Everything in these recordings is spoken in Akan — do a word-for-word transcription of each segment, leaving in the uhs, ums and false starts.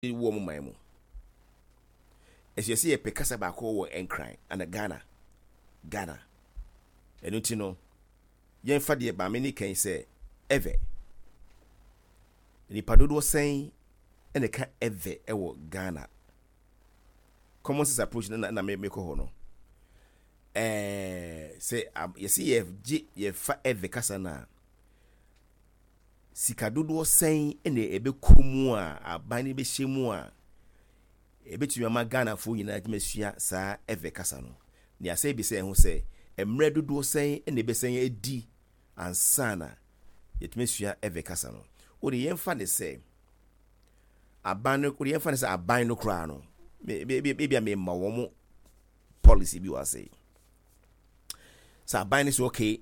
Wɔ mo man mu ɛsɛ sɛ yɛpɛ kasa baako wɔ Nkran ana Ghana Ghana Ɛno nti no, yɛmfa deɛ maame ne kan sɛ Ewe, nipa dodoɔ sɛn ɛna ka Ewe ɛwɔ Ghana? Common sense approach na na mekɔ hɔ no, ɛɛ sɛ yɛsi yɛgye yɛfa Ewe kasa no a, sika dodoɔ sɛn ɛna ɛbɛkɔ mu a aban no bɛhyɛ mu a ɛbɛtumi ama Ghanafoɔ nyinaa tumi asua saa Ewe kasa no? Nea sɛ ebi sɛ ɛho sɛ mmerɛ dodoɔ sɛn ɛna ɛbɛsɛn adi ansa na yɛtumi asua Ewe kasa no? Wode yɛmfa ne sɛ aban no, wode yɛmfa ne sɛ aban no koraa no, ebi a mema wɔn policy bi wɔ ase sɛ aban no sɛ okay,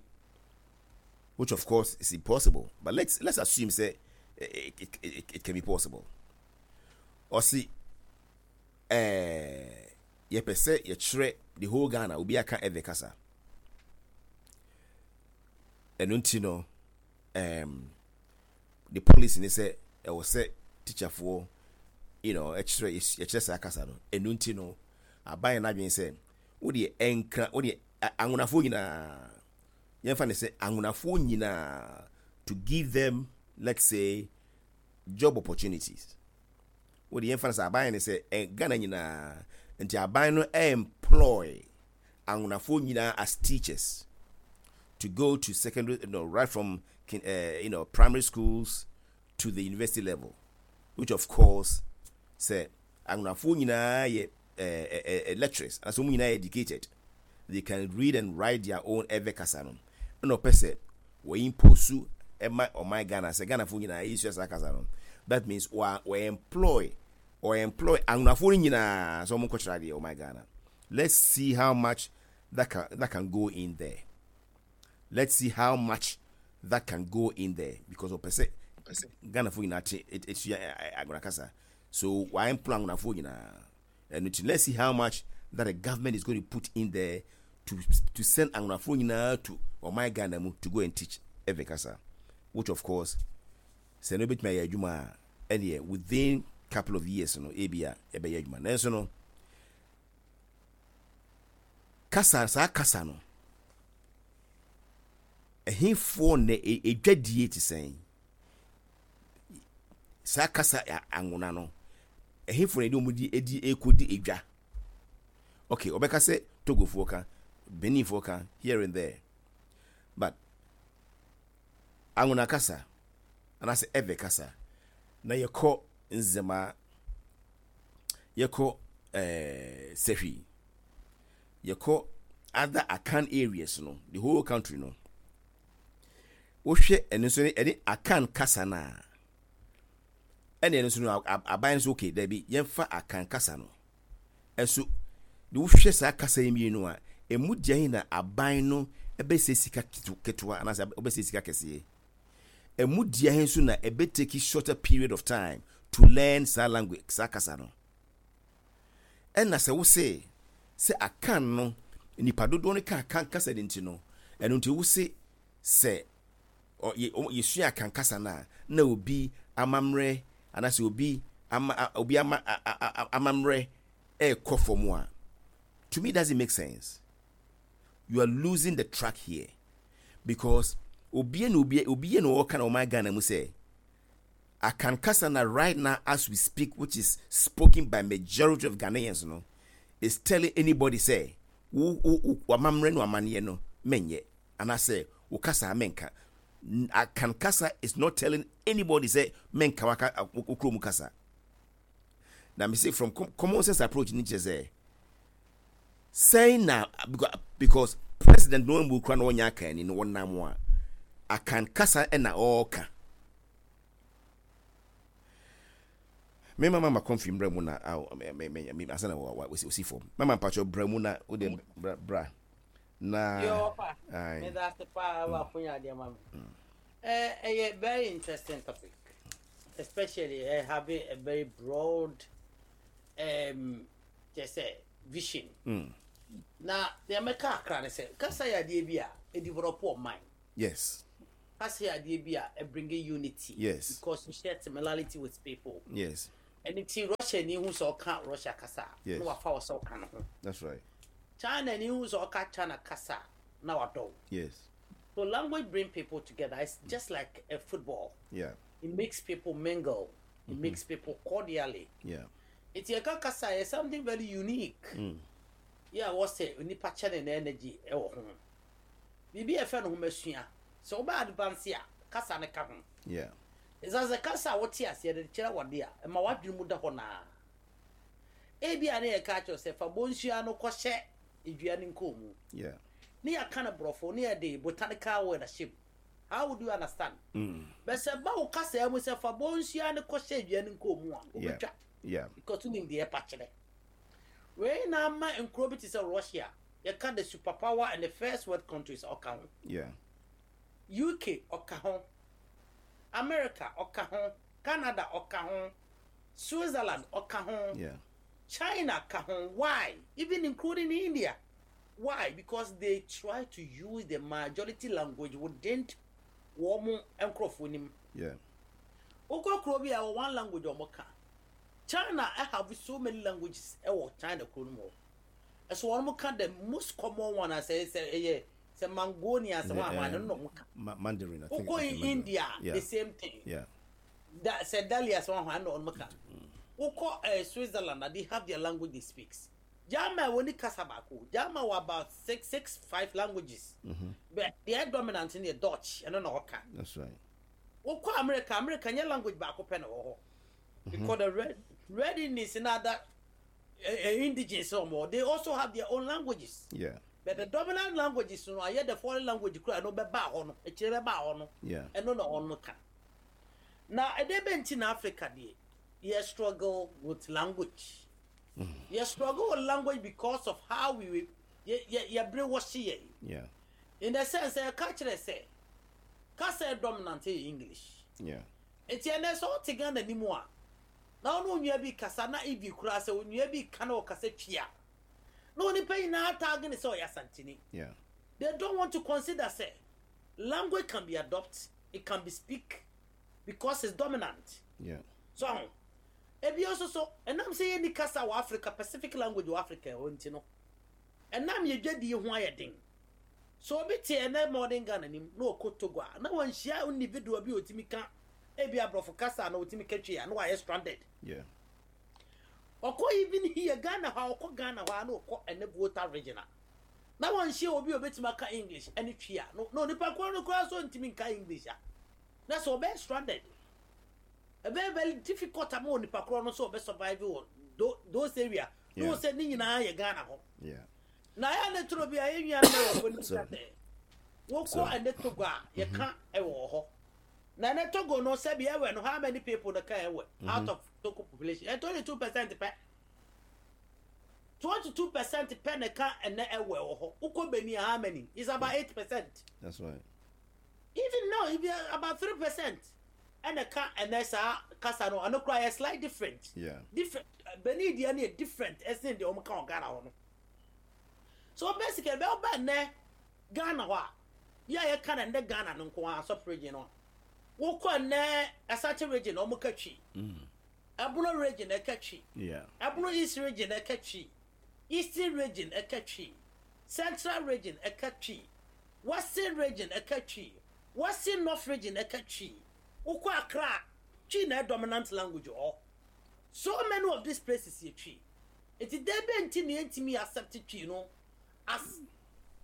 which of course is impossible, but let's let's assume say it, it, it, it can be possible. Ɔsi ɛɛ yɛpɛ sɛ yɛkyerɛ the whole Ghana obi aka Ewe kasa. Ɛno nti no, um, the policy ne sɛ ɛwɔ sɛ teacherfoɔ you know ɛkyerɛ, yɛkyerɛ saa kasa no. Ɛno nti no, aban yɛn n'adwene sɛ wodeɛ ɛnkra, wodeɛ Anwonafoɔ nyinaa, yɛmfa ne sɛ Anwonafoɔ nyinaa, to give them, let's say, job opportunities, wode yɛmfa no sɛ aban ne sɛ ɛ Ghana nyinaa nti aban no employ Anwonafoɔ nyinaa as teachers to go to secondary, you know, right from uh, you know primary schools to the university level, which of course sɛ Anwonafoɔ nyinaa yɛ uh, uh, lecturers anaasɛ wɔn nyinaa yɛ educated, they can read and write their own Ewe kasa no, ɛna ɔpɛ sɛ wɔyi impose ɛma ɔman Ghana sɛ Ghanafoɔ nyinaa yɛsua saa kasa no. That means wɔ wɔ employ or employ Anwonafoɔ no nyinaa sɛ wɔn nkɔkyerɛ adeɛ ɔman Ghana. Let's see how much that can that can go in there. Let's see how much that can go in there, because ɔpɛ sɛ Ghanafoɔ nyinaa te esua Anwona kasa, so wɔn employ Anwonafoɔ nyinaa. Ɛno nti, let's see how much that the government is going to put in there to to send Anwonafoɔ nyinaa to ɔman Ghana mu to go and teach Ewe kasa, which of course sɛ no ebɛtumi ayɛ adwuma a, ɛneɛ within couple of years no ebi a ɛbɛyɛ adwuma. Nanso no, kasa, saa kasa no, ɛhefoɔ na edwadie te sɛn? Saa kasa Anwona no, ɛhefoɔ na ɛde wɔn di edi ekodi edwa? Okay, ɔbɛka sɛ Togofoɔ ka, Beninfoɔ ka here and there, but Anwona kasa anaasɛ Ewe kasa na yɛkɔ Nzema, yɛkɔ ɛɛ Sɛhwi, yɛkɔ other Akan areas no, the whole country no, wohwɛ ɛno nso ɛne Akan kasa no a, ɛne ɛno nso no, aban nso okay, dabi, yɛmfa Akan kasa no ɛnso de. Wohwɛ saa kasa yi mmienu a, emu deɛ na aban no ɛbɛsɛ sika ketewa anaasɛ ɛbɛsɛ sika kɛseɛ? Emu deɛ nso na ɛbɛ take shorter period of time to learn saa language, saa kasa no? Ɛna sɛ wose sɛ Akan no, nipa dodoɔ no ka Akan kasa de nti no, ɛno nti wose sɛ yɛsua Akan kasa no a, na obi amammerɛ anaasɛ obi ama obi ama amammerɛ ɛɛkɔ fam a, to me doesn't make sense. You are losing the track here, because obi na obi obi na ɔka na ɔman Ghana mu sɛ Akan kasa na right now as we speak, which is spoken by majority of Ghanaians no, is telling anybody say wo wo wamammerɛ no amanneɛ no menyɛ anaasɛ wo kasa menka. Akan kasa is not telling anybody say menka waka wo kurom kasa. Na me say from common sense approach ni kyerɛ sɛ sɛn na because president no mu kura na ɔnyɛ Akan ni no, wɔnam a Akan kasa ɛna ɔɔka. Me mama ma kɔnfi mbra mu na aw me me me asa na wa osi fam. Mama, mpakyɛ bra mu na wo de bra bra na. Yo, pa. Me da ase paa wa akonya adeɛ ma me. Eh, ɛyɛ very interesting topic, especially uh, having a very broad um, kyɛ sɛ vision. Mm. Na deɛ mɛka akra ne sɛ kasa yɛ adeɛ bi a ɛdevelop ɔman. Yes kasa yɛ adeɛ bi a ɛbring unity. Yes. Because you share similarity with people. Yes. Ɛne ti Russia ni hu sɛ ɔka Russia kasa a, Yes. na wafa wɔ sɛ ɔka ne ho. That's right. China ni hu sɛ ɔka China kasa a, na wadɔ wo. Yes. So language bring people together. It's just like a football. Yeah. It makes people mingle. It makes people cordially. Yeah. Nti yɛka kasa yɛ something very unique. Mm. Yɛ a wɔsɛ nipa kyɛ ne energy ɛwɔ ho. Biribi a yɛfrɛ no homasua. Sɛ wobɛ advance a, kasa ne ka ho. Yeah. Ɛsiane sɛ kasa a wote aseɛ de kyerɛ wɔde a, ɛma w'adwene mu da hɔ naa. Ebi a ne yɛka kyerɛ sɛ fa bonsua no kɔhyɛ edua ne nkɔn mu. Yeah. Ne yɛaka no borɔfo ne yɛde botanical word ahyɛ mu. How would you understand? Mm. Bɛ sɛ ba wo kasa mu sɛ fa bonsua no kɔhyɛ edua ne nkɔn mu a, Yeah. wobɛtwa. Yeah. Because wonim deɛ ɛpa kyerɛ. Wei na ama nkuro bi te sɛ Russia, yɛka the superpower and the first world countries, ɔka ho. Yeah. U K ɔka ho, America ɔka ho, Canada ɔka ho, Switzerland ɔka ho, Yeah. China ka ho. Why? Even including India. Why? Because they try to use the majority language within wɔn nkurɔfoɔ nim. Yeah. Wokɔ kuro bi a wɔ one language a wɔn ka. China have so many languages ɛwɔ China kuro no mu hɔ. Ɛso wɔn ka the most common one a sɛ sɛ ɛyɛ sɛ Mangonia sɛ wɔn ahɔn no na wɔn ka. Ma- Mandarin, I think. Wokɔ I think Mandarin. India, Yeah. the same thing. Yeah. Da sɛ Dalia sɛ wɔn ahɔn no na wɔn ka. Wokɔ ɛɛ Switzerland na they have their language they speak. German wɔ ni kasa baako. German wɔ about six six five languages. Mm-hmm. But deɛ dominant no yɛ Dutch, ɛno na ɔka. That's right. Wokɔ America, America nyɛ language baako pɛ na wɔ hɔ. Because the red red Indians and other uh, uh, indigenes wɔn, they also have their own languages. Yeah. But the dominant languages no ayɛ the foreign language kura ɛno bɛba hɔ no, akyire bɛba hɔ no. Yeah. Ɛno na ɔno ka. Na ɛdɛ bɛ nti na Africa deɛ yɛ struggle with language. Yɛ struggle with language because of how we yɛ yɛ yɛ bere wɔhye yɛ. Yeah. In the sense sɛ ɛka kyerɛ sɛ kasa yɛ dominant yɛ English. Yeah. Nti ɛnɛ sɛ ɔte Ghana ni mu a, na ɔne onua bi kasa na ibi koraa sɛ onua bi ka na ɔkasa Twi a, na onipa nyinaa taage ne sɛ ɔyɛ Asantini. Yeah. They don't want to consider sɛ language can be adopt, it can be speak because it's dominant. Yeah. So ebi nso so ɛnam sɛ yɛni kasa wɔ Africa, pacific language wɔ Africa hɔ nti no, ɛnam yɛ dwadie ho ayɛ den. So obi te ɛnɛ modern Ghana nim na ɔkɔ Togo a, na wɔnhyia individual bi a otumi ka ebi aborɔfo kasa na otumi ka Twi a, na wayɛ stranded. Yeah. Ɔkɔ even here Ghana hɔ a, ɔkɔ Ghana hɔ a na ɔkɔ ɛnɛ Volta Region a, na wɔnhyia obi a obetumi aka English ɛne Twi a, no na onipa koro no koraa so ntumi nka English a, na sɛ ɔbɛyɛ stranded, ɛbɛyɛ very difficult ama onipa koro no sɛ ɔbɛ survive wɔ tho- those area na Yeah. wɔ sɛ ne nyinaa yɛ Ghana hɔ. Yeah. Na ayɛ ne toro bi a yɛn nua no wɔ fɔ So- ne sɛ wokɔ ɛne Togo a, yɛka ɛwɔ hɔ na ɛne Togo no, sɛbi, ɛwɛ no, how many people na ka ɛwɛ out of Togo population? Ɛ twenty two percent pɛ, twenty two percent pɛ na ka ɛnɛ ɛwɛ wɔ hɔ. Wokɔ Benin, how many? It's about eight percent. That's right. Even now it be about three percent ɛna ka ɛnɛ saa kasa no. Ɛno koraa yɛ slight different. Yeah. Different. Benin deɛ no yɛ different ɛsen deɛ wɔn ka wɔ Ghana hɔ no. So basically bɛɛ ɔba nnɛ Ghana hɔ a, yɛ a yɛka na nnɛ Ghana no nko ara sɔp region no a, wokɔ nnɛ Asante Region na wɔn ka Twi, Ɛbono Region ɛka Twi, Yeah. Ɛbono East Region ɛka Twi, Eastern Region ɛka Twi, Central Region ɛka Twi, Western Region ɛka Twi, Western North Region ɛka Twi. Wokɔ Accra, Twi na ɛ dominant language hɔ. So many of these places yɛ Twi. Eti de bɛ nti na yɛntumi accept Twi no as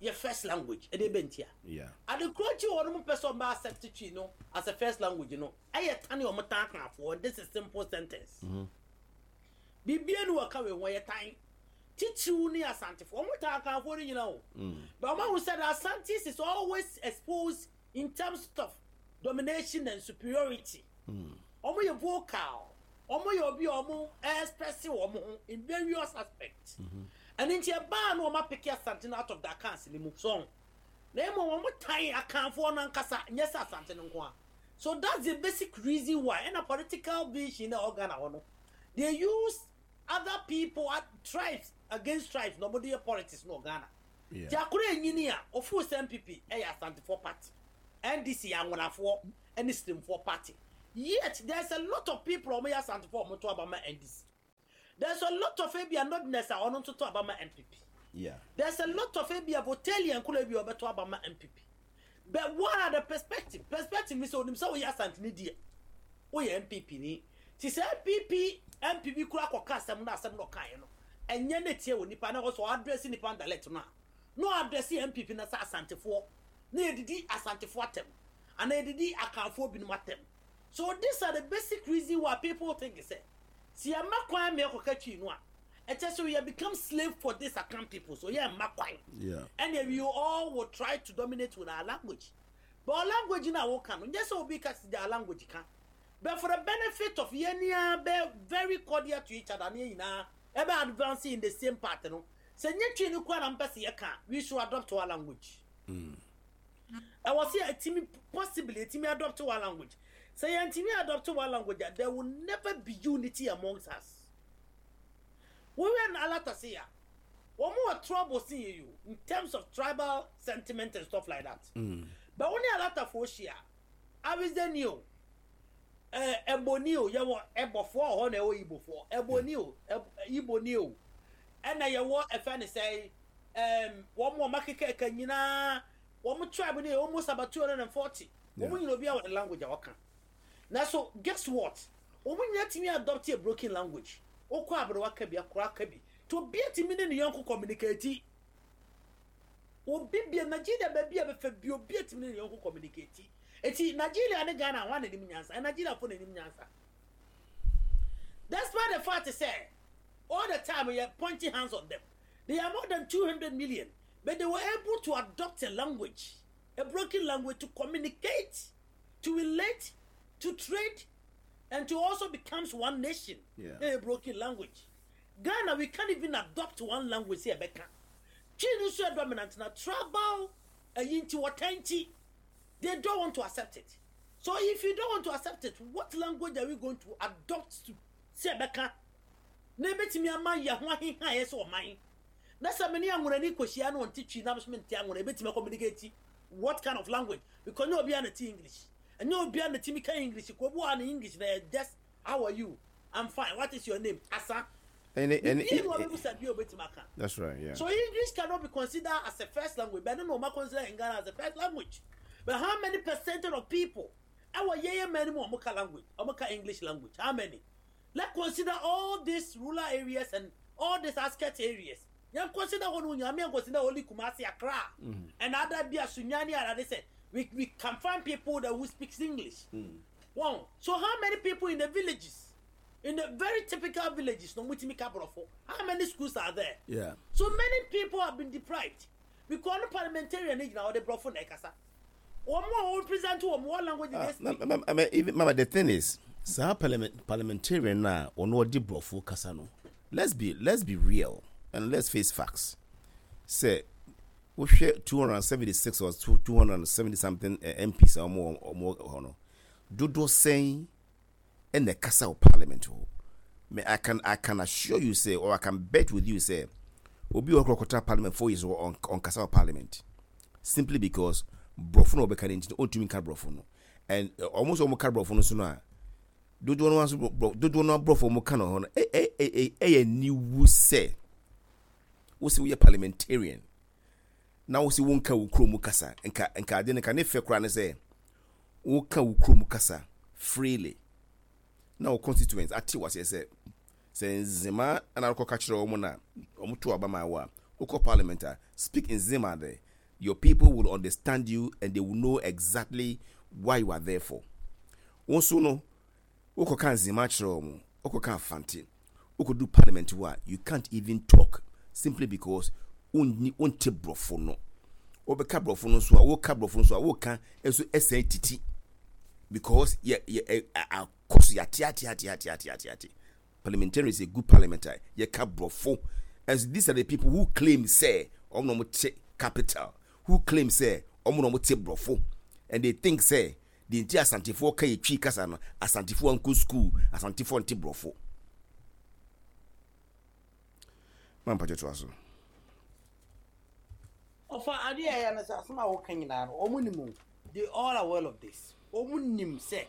yɛ first language? Ɛde bɛ nti a Yeah. adekoro akyi wɔ nom pɛ sɛ ɔmo accept Twi no as a first language no, ɛyɛ tane ɔmo tan kanfoɔ. This is simple sentence. Bibie no wɔka wei ho yɛ tan titiriw ne Asantefoɔ. Ɔmo tan akanfoɔ no nyinaa o, but ɔmo ahu sɛ the Asantes is always exposed in terms of domination and superiority. Ɔmo yɛ vocal, ɔmo yɛ obi a ɔmo express wɔn ho in various aspects. Ɛno nti ɛbaa no ɔmo apick Asante no out of the Akans ne mu so, na emu wɔn tan akanfoɔ no ankasa, nyɛ sɛ Asante no nko a. So that's the basic reason why. Ɛna political vision na ɔwɔ Ghana hɔ no, they use other people uh, tribes against tribes na wɔn de yɛ politics no wɔ Ghana. Yeah. Tí akoro enyini a ofu sɛ N P P ɛyɛ Asantefoɔ party, N D C yɛ Anwonafoɔ ɛne Sirimfoɔ party, Yet there's a lot of people ɔmo yɛ Asantefoɔ, ɔmo to aba ma N D C. There's a lot of ebi northerners a ɔno nso to aba ma N P P. Yeah. There's a lot of ebi a Voltalian koro bi a ɔbɛto aba ma N P P. But what are the perspective? Perspective ni sɛ onim sɛ woyɛ Asantene deɛ, woyɛ N P P ni. Ti sɛ N P P N P P kura akɔka asɛm na asɛm na ɔkaeɛ no, ɛnyɛ ne tie wɔ nipa na ɔsɔ address nipa dialect no a, na address N P P na sɛ Asantefoɔ na yɛdidi Asantefoɔ atɛm anaa yɛdidi Akanfoɔ binom atɛm. So these are the basic reason why people think sɛ si yɛma kwan ma yɛkɔka Twi no a, ɛkyɛ sɛ we have become slave for this Akan people, so yɛ mma kwan. Yeah. And we all will try to dominate with our language, but our language na woka no nyɛ sɛ obi ka si our language ka, but for the benefit of yɛn nyinaa bɛ very cordial to each other ne yɛn nyinaa ɛbɛ advance in the same path no, sɛ nye Twi no kora na mpɛ sɛ yɛka, we should adopt our language. Ɛwɔ sɛ yɛtumi possibly yɛtumi adopt our language. Sɛ yɛntumi adopt our language a, there will never be unity amongst us. Wɔwɛ no alata se a wɔn wɔ trouble sin yɛ you in terms of tribal sentiment and stuff like that. Mm. But wɔn ne alatafoɔ hyia, Awisdani o, ɛɛ Ɛbɔni o, yɛwɔ Ɛbɔfoɔ wɔ hɔ na ɛwɔ Ibofoɔ, Ɛbɔni o, Ɛb Iboni o, ɛna yɛwɔ ɛfɛ ne sɛ ɛɛm wɔn a wɔn akeka nyinaa, wɔn tribe no yɛ almost about two hundred and forty. Wɔn nyinaa, obi a wɔ ne language a wɔka na so guess what, wɔn nyinaa tumi adopt a broken language. Okɔ aberewa ka bi, akora ka bi, to obi atumi ne ne yɔnko communicate. Obi bia Nigeria baabi a bɛfɛ bi, obi atumi ne ne yɔnko communicate. Eti Nigeria ne Ghana, wɔn anim nyansa, Nigeria fo n'anim nyansa, despite the fact sɛ all the time we are pointing hands on them. They are more than two hundred million, but they were able to adopt a language, a broken language, to communicate, to relate, to trade and to also becomes one nation. Yeah. A broken language. Ghana, we can't even adopt one language. Sɛ ɛbɛka Twi no nso yɛ dominant na tribal ɛyi nti, wɔtɛn nti, they don't want to accept it. So if you don't want to accept it, what language are we going to adopt to sɛ ɛbɛka na ebɛtumi ama yɛn ho aheha yɛ sɛ ɔman? Na sɛ mene anwonani kɔhyia na ɔnte Twi na so mente anwona, ebɛtumi communicate what kind of language? Because nyɛ obiara na ti English, ɛnyɛ obiara na timi ka English. Ko obi wɔ ha na English na yɛ just "How are you?" "I'm fine. What is your name?" Asa. Any, any, biribi na ɔbɛbusa bi a obɛtumi aka. That's right. Yeah. So English cannot be considered as a first language, but no, no, consider in Ghana as a first language. But how many percentage of people? Our yeah many more Omoka language, Omoka English language. How many? Let's consider all these rural areas and all these outskirt areas. You consider one, you consider only Kumasi, Accra, and other bia Sunyani, and they say we, we can find people that who speaks English. One. So how many people in the villages, in the very typical villages, no mutimi ka Brofo? How many schools are there? Yeah. So many people have been deprived because no parliamentarian ni gyina ɔde Brɔfo na ɛkasa. Wɔn a wɔn represent wɔn, what language do Uh, they speak? ma- ma- I mean, even, Mama, the thing is, saa parliament, parliamentarian na ɔno ɔde Brɔfo kasa no. Let's be let's be real and let's face facts. Sɛ wohwɛ two hundred seventy-six or two hundred seventy something uh, M Ps a ɔmo ɔmo hɔ no, dodoɔ sɛn ɛna ɛkasa wɔ parliament hɔ? Me, I can I can assure you sɛ, or I can bet with you sɛ, obi wɔ hɔ kɔtara parliament four years ɔn ɔnkasa wɔ parliament simply because Borɔfo na ɔbɛka ne nti no, ɔntumi nka Borɔfo no. And ɔmo nso ɔmo ka Borɔfo no so no a, dodoɔ no nso borɔ dodoɔ no Borɔfo ɔmo ka no hɔ no, ɛ ɛ ɛ ɛyɛ niwu sɛ wosi woyɛ parliamentarian na wosi wonka wo kurom kasa. Nka nka ade no nka ne fɛ koraa ne sɛ woka wo kurom kasa freely na wo constituents ate waseɛ sɛ sɛ Nzema ana akɔka kyerɛ wɔn na wɔn to aba ma wo a, wokɔ parliament a, speak Nzema there. Your people will understand you and they will know exactly why you are there for. Wɔn nso no, wokɔka Nzema kyerɛ wɔn, wokɔka Afante, wokɔdu parliament hɔ a, you can't even talk simply because wonni wonte Borɔfo no. Wobɛka Borɔfo no nso a, woka Borɔfo no nso a, woka nso ɛsɛn titi because yɛ yɛ ɛ akɔ so yɛate ate ate ate ate ate ate. Parliamentarians a good parliament a yɛka Borɔfo, and so these are the people who claim sɛ ɔmo na ɔmo te capital, who claim sɛ ɔmo na ɔmo te Borɔfo, and they think sɛ deɛ nti Asantefoɔ ka yɛ Twi kasa no, Asantefoɔ nkɔ school, Asantefoɔ nte Borɔfo. Mampatwa to aso. Ɔfa adeɛ a ɛyɛ no sɛ asɛm a wɔka nyinaa no, wɔn nim o. They all are aware of this. Wɔn nim sɛ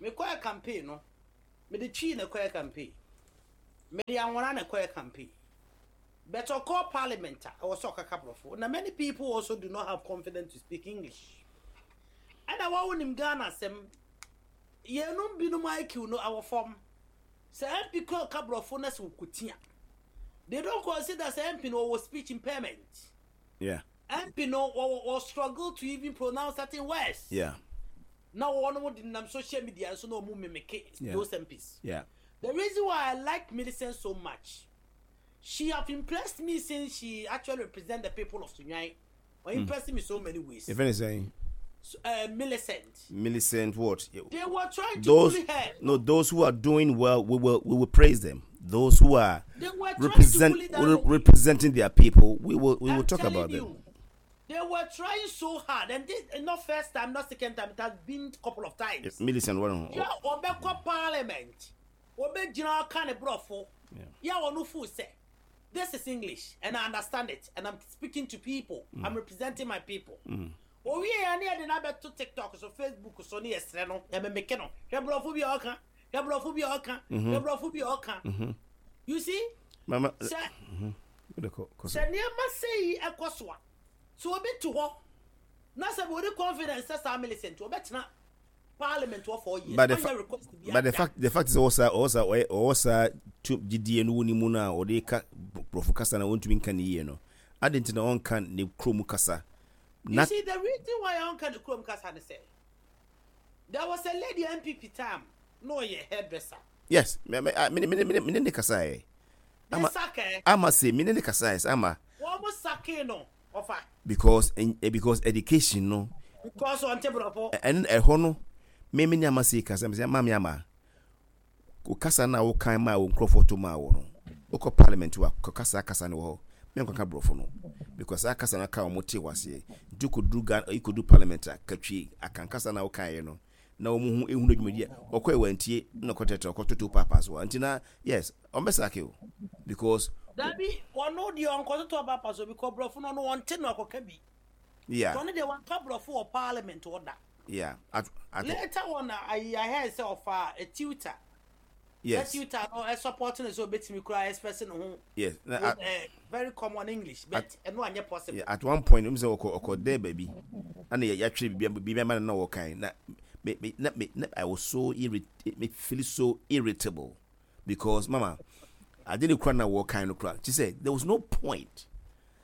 Mekɔɛ campaign no, mede Twi na kɔɛ campaign, mede Anwona na kɔɛ campaign, but ɔkɔ parliament a, ɛwɔ sɛ ɔkaka borɔfo, na many people also do not have confidence to speak English. Ɛna wɔn nim Ghana asɛm, yɛnum binom I Q no awɔ fam sɛ M P kɔ ka borɔfo na sɛ okutia, they don't consider sɛ M P no wɔwɔ speech impairment. Yeah M P no wɔ wɔ struggle to even pronounce certain words. Yeah na wɔn mo de nam social media nso na wɔn mimic Yeah. those M Ps. Yeah the reason why I like Millicent so much, she have impressed me since she actually represent the people of Sunyani or impressed me so many ways. If anything, So, uh, Millicent. Millicent what? They were trying to Those bully her. No, those who are doing well, we will we will praise them. Those who are They were trying represent to bully that re- lady. representing their people, we will we will I'm talk telling about them. you, they were trying so hard, and this and not first time, not second time. It has been a couple of times. Millicent one. Yeah, ɔbɛkɔ parliament, ɔbɛgyina ɔka ne borɔfo. Yeah, ɔno fo sɛ this is English and I understand it and I'm speaking to people. Mm. I'm representing my people. Owie ya ne yɛde n'abɛto TikTok so, Facebook so, ne yɛsrɛ no, yɛmemeke no, hwɛ borɔfo bi a ɔka, hwɛ borɔfo bi a ɔka, Mm-hmm. hwɛ borɔfo bi a ɔka. You see, Mama, sɛ kɔ- kɔ so. Sɛ nneɛma sɛyi ɛkɔ so a, so obi to hɔ na sɛ wɔde confidence sɛ saa Millicent wɔbɛtena parliament wɔ four years But the, ɔnyɛ fa- request bi but the ada. fact the fact is ɔwɔ saa ɔwɔ saa ɔyɛ ɔwɔ saa tu gyidie no wɔ ne mu no a ɔde ka borɔfo kasa na wɔntumi nka ne yie no adi nti na ɔnka ne kurom kasa. You Na see, the reason why ɔnka ne kurom kasa ne sɛ there was a lady, N P P time na ɔyɛ hairdresser. Yes, me me me me me me ne ne kasa yɛ. Ne Ama sack ɛ. Ama se me ne ne kasa yɛ ama. Wɔn mo sack no ɔfa. Because eh, because education no Because ɔnte borɔfo. Ɛno ɛhɔ no, me me ne ama se kasa me sɛ maame ama o kasa na wo kan ma wo nkurɔfoɔ to ma wo no, wokɔ parliament wa kɔ kasa kasa no wɔ hɔ, me nkɔka borɔfo no because saa kasa no ka wɔn te wɔ aseɛ, nti kɔduru Ghana, kɔduru parliament a katwi akan kasa na wokaeɛ no na wɔn ho ehunu dwumadi a ɔkɔ ɛwɔ na ɔkɔtɛtɛ ɔkɔtoto paapa so a nti na yes, ɔmbɛ sack o because Dabi, ɔno deɛ ɔnkɔtoto ɔba so because borɔfo no ɔno ɔnte no akɔka bi. Yeah ɔno deɛ wanka borɔfo wɔ parliament ɔda. yeah at at Later on ayi ahɛ sɛ ɔfa a tutor. Yes tutor no ɛ support no sɛ obetumi kura express ne ho yes na with at, uh, very common English, but ɛno anyɛ possible. Yeah, at one point n sɛ ɔkɔ ɔkɔ dɛ baabi ɛna yɛ yɛatwerɛ biribi biribi ama no na wɔkan na me me na me na I was so irrit me feel so irritable because mama ade ne kura na wɔkan no kura kyi sɛ there was no point.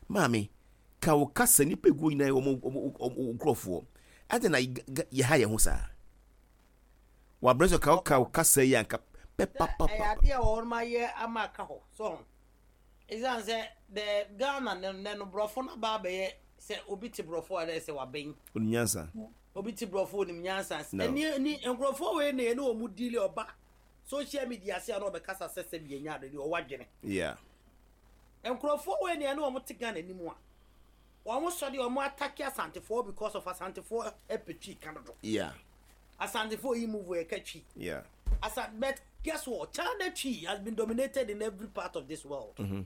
Maame ka wo kasa nipa egu nyinaa wɔn wɔn wɔn nkurɔfoɔ ade na yɛ ha yɛn ho saa wabrɛ sɛ ka wo ka wo kasa yi anka ɛyɛ pɛpapapa. Adeɛ a wɔn ayɛ ama aka hɔ so ɛsiane sɛ the Ghana ne ne no borɔfo no aba abɛyɛ sɛ obi te borɔfo a ɛdɛ sɛ wabɛn. Onim nyansa. Obi te borɔfo onim nyansa. No. Ɛni ni nkurɔfoɔ wei na yɛne wɔn deal, ɔba social media ase a na ɔbɛkasa sɛ sɛ bi enya ade deɛ ɔwɔ adwene. Yeah nkurɔfoɔ wei na yɛne wɔn te Ghana anim a wɔn sɔ deɛ wɔn attack Asantefoɔ because of Asantefoɔ ɛpɛ Twi ka dodo. Yeah Asantefoɔ yi move wɔ ɛka Twi. yeah Asa, but guess what? China Twi has been dominated in every part of this world. Mm-hmm.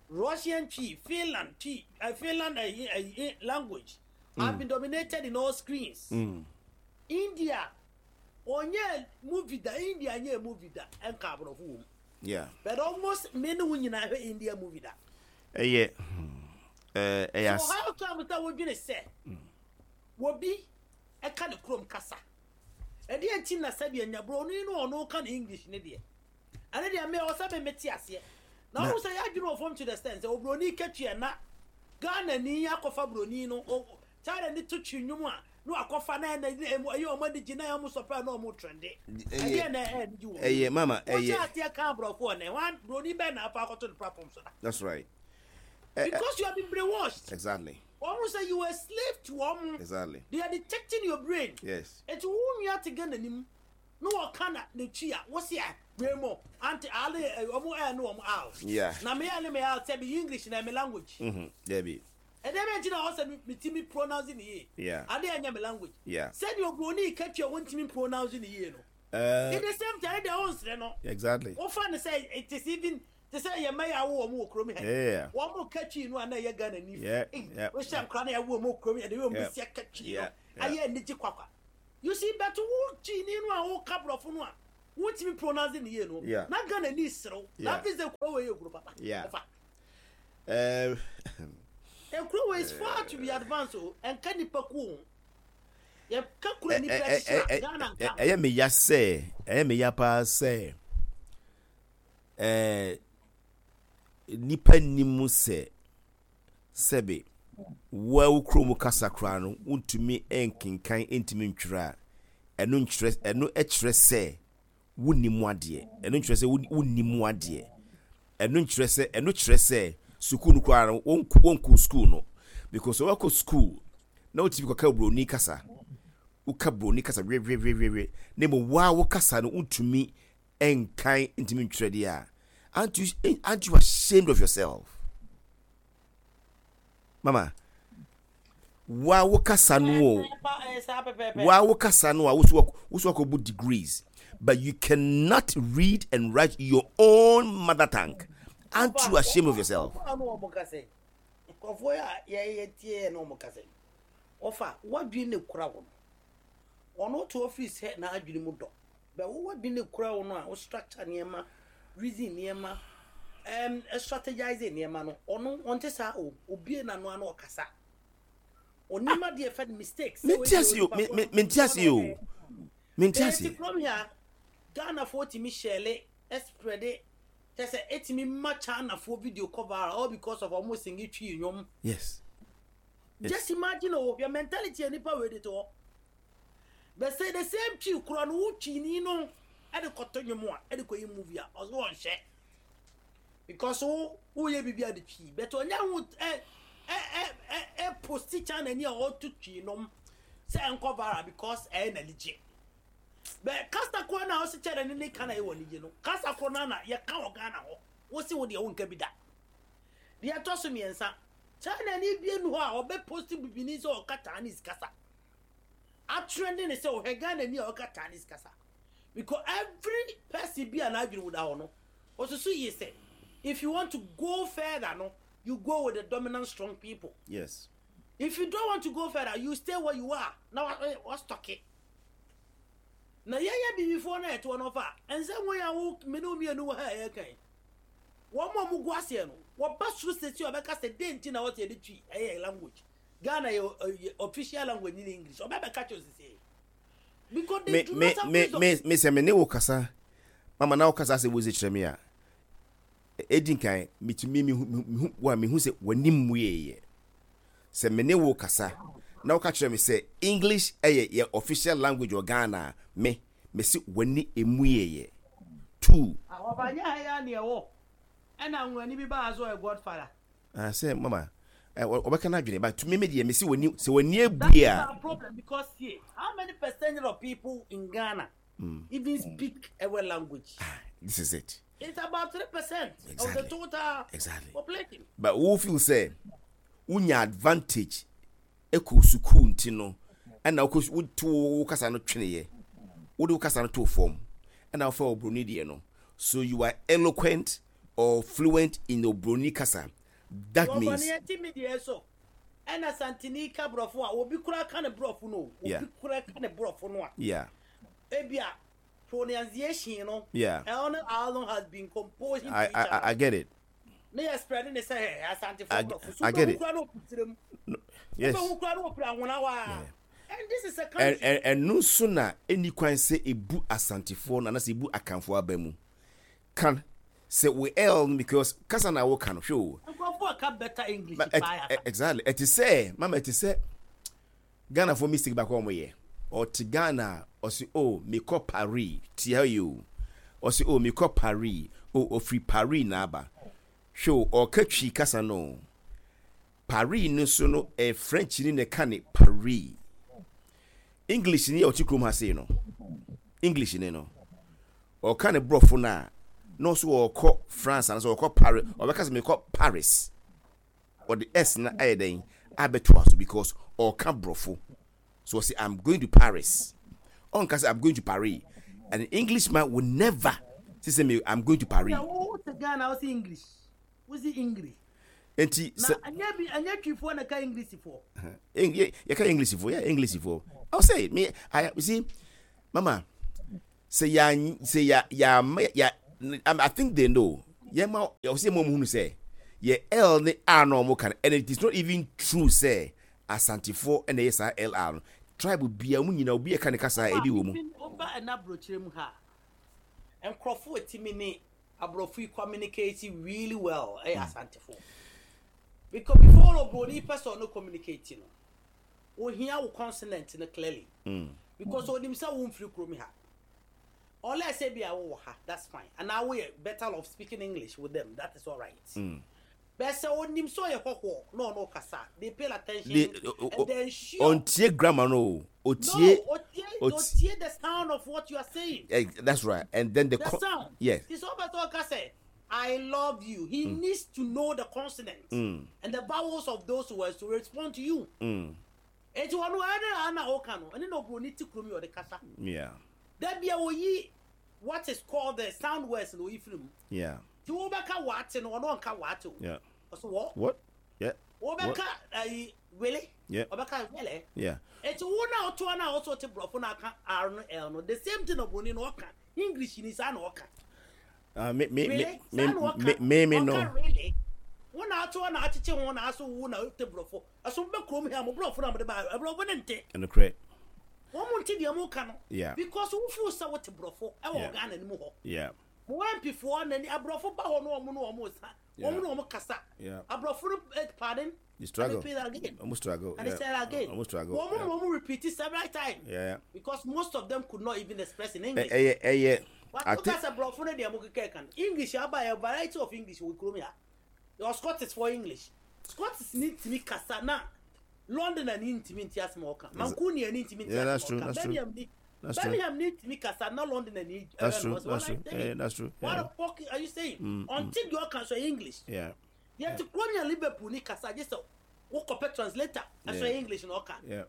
Russian Twi, Finland Twi, uh, Finland uh, uh, uh, language have been dominated in all screens. Mm. India, onye movie da India nye movie da enka aborɔfo wɔ mu. Yeah But almost many wo nyinaa hwɛ India movie da. Ɛyɛ hmm, ɛɛ ɛyɛ So as how come sɛ wodwene sɛ wobi ɛka ne kurom kasa? Ɛdeɛ nti na sɛdeɛ nya buroni no ɔno ka ne English ne deɛ. Ɛne deɛ mɛ ɔsɛ me mete aseɛ. Na Na- ɔmo sɛ yɛadwene wɔ fam to the extent sɛ oburoni ka Twi na Ghana ni akɔfa buroni no o- China ni to Twi nnwom a na wakɔfa na ɛna ɛmu ɛyɛ ɔmo ani gye na ɛyɛ ɔmo sɔpɛ na ɔmo trend. Ɛdeɛ na ɛyɛ ani gye wɔ. Ɛyɛ mama Wɔkyɛ ɛyɛ aseɛ ka aborɔfo ɔnɛ wɔn buroni bɛn na afa akɔto ne platform so da. That's right. Because you have been brainwashed. Exactly Wɔn sɛ you were a slave to wɔn. Exactly They are detecting your brain. Yes Eti wo nua te Ghana nim na wɔka na n'akyi a wosi a wei mo ante ale ɛ, ɔmo ɛyɛ no ɔmo out. Yeah. Na me yɛ ne me out sɛ bi English na me language. Mm-hmm. Debbie. Ɛdɛ bɛ nti na ɔsɛ mi ti mi pronounce ne yie? Yeah. Ade ɛnyɛ me language. Yeah. Sɛdeɛ oburoni ka Twi a wɔntumi pronounce ne yie no. Uh, In the same time, ɛdeɛ ɔnsrɛ no. Exactly. Wofa ne sɛ it is even te sɛ yɛ mɛyɛ awo wɔn wɔ kurom ha. Yeah. Wɔn mo ka Twi no a na ɛyɛ Ghana ni. Yeah, yeah. Wohyɛ nkora na ɛwɔ wɔn kurom yɛ de wɔn Yeah. bɛsi aka Twi no. Yeah, yeah. Ayɛ anigye kwakwa. You see, but wo Twini no a woka borɔfo no a wotumi pronounce ne yie no, Yeah. na Ghana ni serew na Yeah. afei sɛ kuro wei yɛ kuro papa. Yeah. Ɔfa Um, ekuro wei is far to be advanced o. Ɛnka nipa ku o, yɛka kuro ɛ- nipa ɛ- hyehyɛ ɛ- a Ghana ɛ- nka. Ɛyɛ me ya sɛ, ɛyɛ me ya paa sɛ ɛɛ nipa nim sɛ sɛbe wo wo kurom kasa koraa no, wontumi nkenkan, ntumi ntwerɛ a, ɛno nkyerɛ, ɛno kyerɛ sɛ wonni mu adeɛ. Ɛno nkyerɛ sɛ wonni wonni mu adeɛ. Ɛno nkyerɛ sɛ, ɛno kyerɛ sɛ sukuu no koraa no, wɔnkɔ wɔnkɔ sukuu no, because sɛ wɔkɔ sukuu na wotumi kɔka buroni kasa, woka buroni kasa wewewewwe, na mmom waa wo kasa no wontumi nkan, ntumi ntwerɛ deɛ a, aren't you aren't you ashamed of yourself, mama? Waa wo kasa no o. Ɛɛ saa pɛpɛɛpɛ. Waa wo kasa no a woso woso akɔbu degrees, but you cannot read and write your own mother tongue. Aren't you ashamed of yourself? Ɔfa no ɔmo kasa yi, nkurɔfoɔ yi a yɛyɛ tie yɛ na ɔmo kasa yi, ɔfa wadwene ne kura wo no, ɔno to ofiri sɛ n'adwene mu dɔ bɛ wo wadwene ne kura wo no a, wo structure nneɛma, reason nneɛma, ɛm strategize nneɛma no, ɔno ɔnte saa o. Obie n'ano ano ɔkasa, onim adeɛ fɛ no mistakes. Mente ase o, me- me- mente ase o, mente ase. Ɛti kurom ha, Ghanafoɔ tumi hyɛle ɛspread kyɛ sɛ ɛtumi ma Chinafoɔ video cover all because of ɔmo sing Twi nnwom. yes Yes. Just imagine o, your mentality a nipa wei de to hɔ but say the same Twi kura no, wo Twi ni no ɛde kɔtɔ nnwom a ɛde kɔ yi movie a, ɔso ɔnhyɛ because wo woyɛ biribi a de Twi, but ɔnyɛ ho ɛ ɛ ɛ ɛ ɛ post China ni a ɔto Twi nom sɛ ɛnkɔ viral because ɛyɛ n'anigye. Bɛ kasa koro na ɔsi kyerɛ ne ne ka na ɛwɔ anigye no, kasa koro na na yɛka wɔ Ghana hɔ, wosi wo deɛ wonka bi da. Deɛ ɛtɔ so mmiɛnsa, China ni bie nu hɔ a ɔbɛ post bibini sɛ ɔka Chinese kasa atrend ne sɛ ɔhwɛ Ghana ni a ɔka Chinese kasa, because every person bi a n'adwene mu da hɔ no, ɔsoso yie sɛ if you want to go further no, you go with the dominant strong people. Yes if you don't want to go further, you stay where you are na wa wa stuck it. Na yɛyɛ bibifoɔ no a ɛtoɔ no fa ɛnsɛ wɔn a wo mene wo mmienu wɔ ha a yɛka yi, wɔn a wɔn gu aseɛ no, wɔba soro sisi a ɔbɛka sɛ den ti na wɔte yɛde Twi ɛyɛ language, Ghana yɛ ɛ, official language ni English, ɔbɛ bɛka kyerɛ sisi because they me do me not have me wisdom. me me sɛ me ne wo kasa, mama, na wo kasa sɛ wosi kyerɛ me a, edi nkan metumi mehu mehu wa mehu sɛ w'anim mu yɛ sɛ me ne wo kasa na woka kyerɛ me sɛ English ɛyɛ yɛ official language wɔ Ghana a, me me se w'ani emu yɛ two. Ɔba nyɛ ha yɛ aneɛ wɔ ɛna nwurani bi baa so ɔyɛ godfather. Ah, sɛ mama ɛ ɔbɛka n'adwene, but me me deɛ me se w'ani sɛ w'ani That ebue is a. our problem because see, how many percentage of people in Ghana even speak our language? This is it. It's about three percent of Exactly. the total Exactly. population. But wo feel sɛ wonya advantage ekɔ sukuu nti no, ɛna wokɔ wotu wo kasa no tweneɛ, wode wo kasa no to fam, ɛna wofa obroni deɛ no, so you are eloquent or fluent in obroni kasa. That means Wɔfɔ ne mi deɛ so ɛna Santini ka borɔfo a, obi kura ka ne borɔfo no o, Yeah. obi kura ka ne borɔfo no a, yeah ebia pronunciation no, Yeah. ɛno Alon has been composing I to each I, I other I get it. Ne yɛ spread ne sɛ ɛ Asantefo I- borɔfo so I get it. wobɛhu kura no ɔpitire mu, Yes wobɛhu kura no ɔpira ahona hɔ a, and this is a Ɛ- country. ɛ- ɛno nso na ɛni kwan sɛ ebu Asantefoɔ no anaasɛ ebu Akanfoɔ aba mu kan sɛ we l no, because kasa na woka no, hwɛ o. Nkurɔfoɔ ka better English Ma- ɛ- paa. ɛ- exactly ɛte sɛ mama, ɛte sɛ Ghanafoɔ mistake baako a wɔyɛ. Ɔte Ghana a, ɔsi o mekɔ Paris, tie ha yi o, ɔsi o mekɔ Paris o, ofiri Paris na aba. Hwɛ o, ɔka Twi kasa no o. Paris no so no, ɛ French ni na ɛka ne Paris. English ni a ɔte kurom ha sei no, English ni no ɔka ne borɔfo no a, na ɔso ɔkɔ France anaasɛ ɔkɔ Paris, ɔbɛka sɛ mekɔ Paris. Ɔde s na ayɛ dɛn abɛtoa so because ɔka borɔfo so ɔsɛ "I'm going to Paris." Ɔnka sɛ "I'm going to Paris." An Englishman will never say sɛ me "I'm going to Paris." Na wo te Ghana, wo si English, wo si English. Nti na sɛ ɛnyɛ bi, ɛnyɛ Twifoɔ na ka Englishfoɔ. Eng- yɛ- yɛka Englishfoɔ, yɛ Englishfoɔ I'll say it. Me, I you see, Mama, sɛ ya sɛ ya ya ya I think they know. Yeah, ma, you see, mom who sɛ, yeah, L ne R no mo can, and it is not even true sɛ Asantefoɔ ɛna yɛ saa L R no. Tribe bia mu nyina obi ɛka ne kasa ebi wɔ mu. Woba ɛna aburokyire mu ha, nkurɔfoɔ etimi ne aborɔfo yi communicate really well ɛyɛ Asantefoɔ. Because before obroni pɛ sɛ ɔno communicate no, ohia wo consonant no clearly. Mm. Because onim sɛ wo mfiri kurom ha. Unless sɛ bi a wowɔ ha, that's fine. And now we are better off speaking English with them. That is all right. Mm. But sɛ onim sɛ ɔyɛ hɔhoɔ na ɔno kasa, they pay attention They, and they ensure. ontie grammar no. No, Otie. otie, ot- otie the sound of what you are saying. Eh, that's right. And then the, The co- sound. Yes. It's all about sɛ, I love you. He needs to know the consonants Mm. and the vowels of those words to respond to you. Mm. Eti wɔn ɛne ana ɔka no ɛne na oburoni ti kurom yi ɔde kasa. Yeah. Dabi a oyi what is called the sound words na oyi firi mu. Yeah. Ti wo bɛka waate no ɔno ɔnka waate o. Yeah. Ɔsɛ wɔ. What? Yeah. Wo bɛka ayi wele. Yeah. Ɔbɛka wele. Yeah. Eti wo na ɔto na ɔso te borɔfo na aka R no L no, the same thing oburoni no ɔka English ni saa na ɔka. Uh, me me me Really? me Saa na ɔka. me me me no. Ɔka really. Wo na ato na akyekye ho na aso wo na te borɔfo. Ɛso bɛ kurom ha mo borɔfo na mo de ba borɔfo ne nte. And correct. Wɔn mo nte deɛ mo ka no. Yeah. Because wo feel sɛ wote borɔfo ɛwɔ Yeah. Ghana ni mu hɔ. Yeah. Mo M P foɔ n'ani aborɔfo ba hɔ no wɔn no wɔn sa. Yeah. Wɔn no wɔn kasa. Yeah. Aborɔfo no eh, pardon. You struggle. And repeat that again. Almost struggle. And yeah. they say that again. Almost struggle. Wɔn Yeah. mo wɔn repeat it several times. Yeah. Because most of them could not even express in Eh, English. eh, eh, eh, I What think sɛ borɔfo no deɛ mo keka kan English aba yɛ variety of English wɔ kurom ya. Yɛ Scottish for English. Scottish ni ntumi kasa na London ani ntumi nti asɛm a ɔka. Mancunian ni ntumi nti Yeah, that's asɛm true, a ɔka. that's true. Birmingham ni That's true. Birmingham ni ntumi kasa na London ani. That's true. That's true. Yeah, that's true. What Yeah. the fuck are you saying? Until you ɔka so English. Yeah. Yɛ ti kurom yɛ Liverpool ni kasa gye sɛ wokɔpɛ translator ɛso Yeah. English na ɔka. Yeah.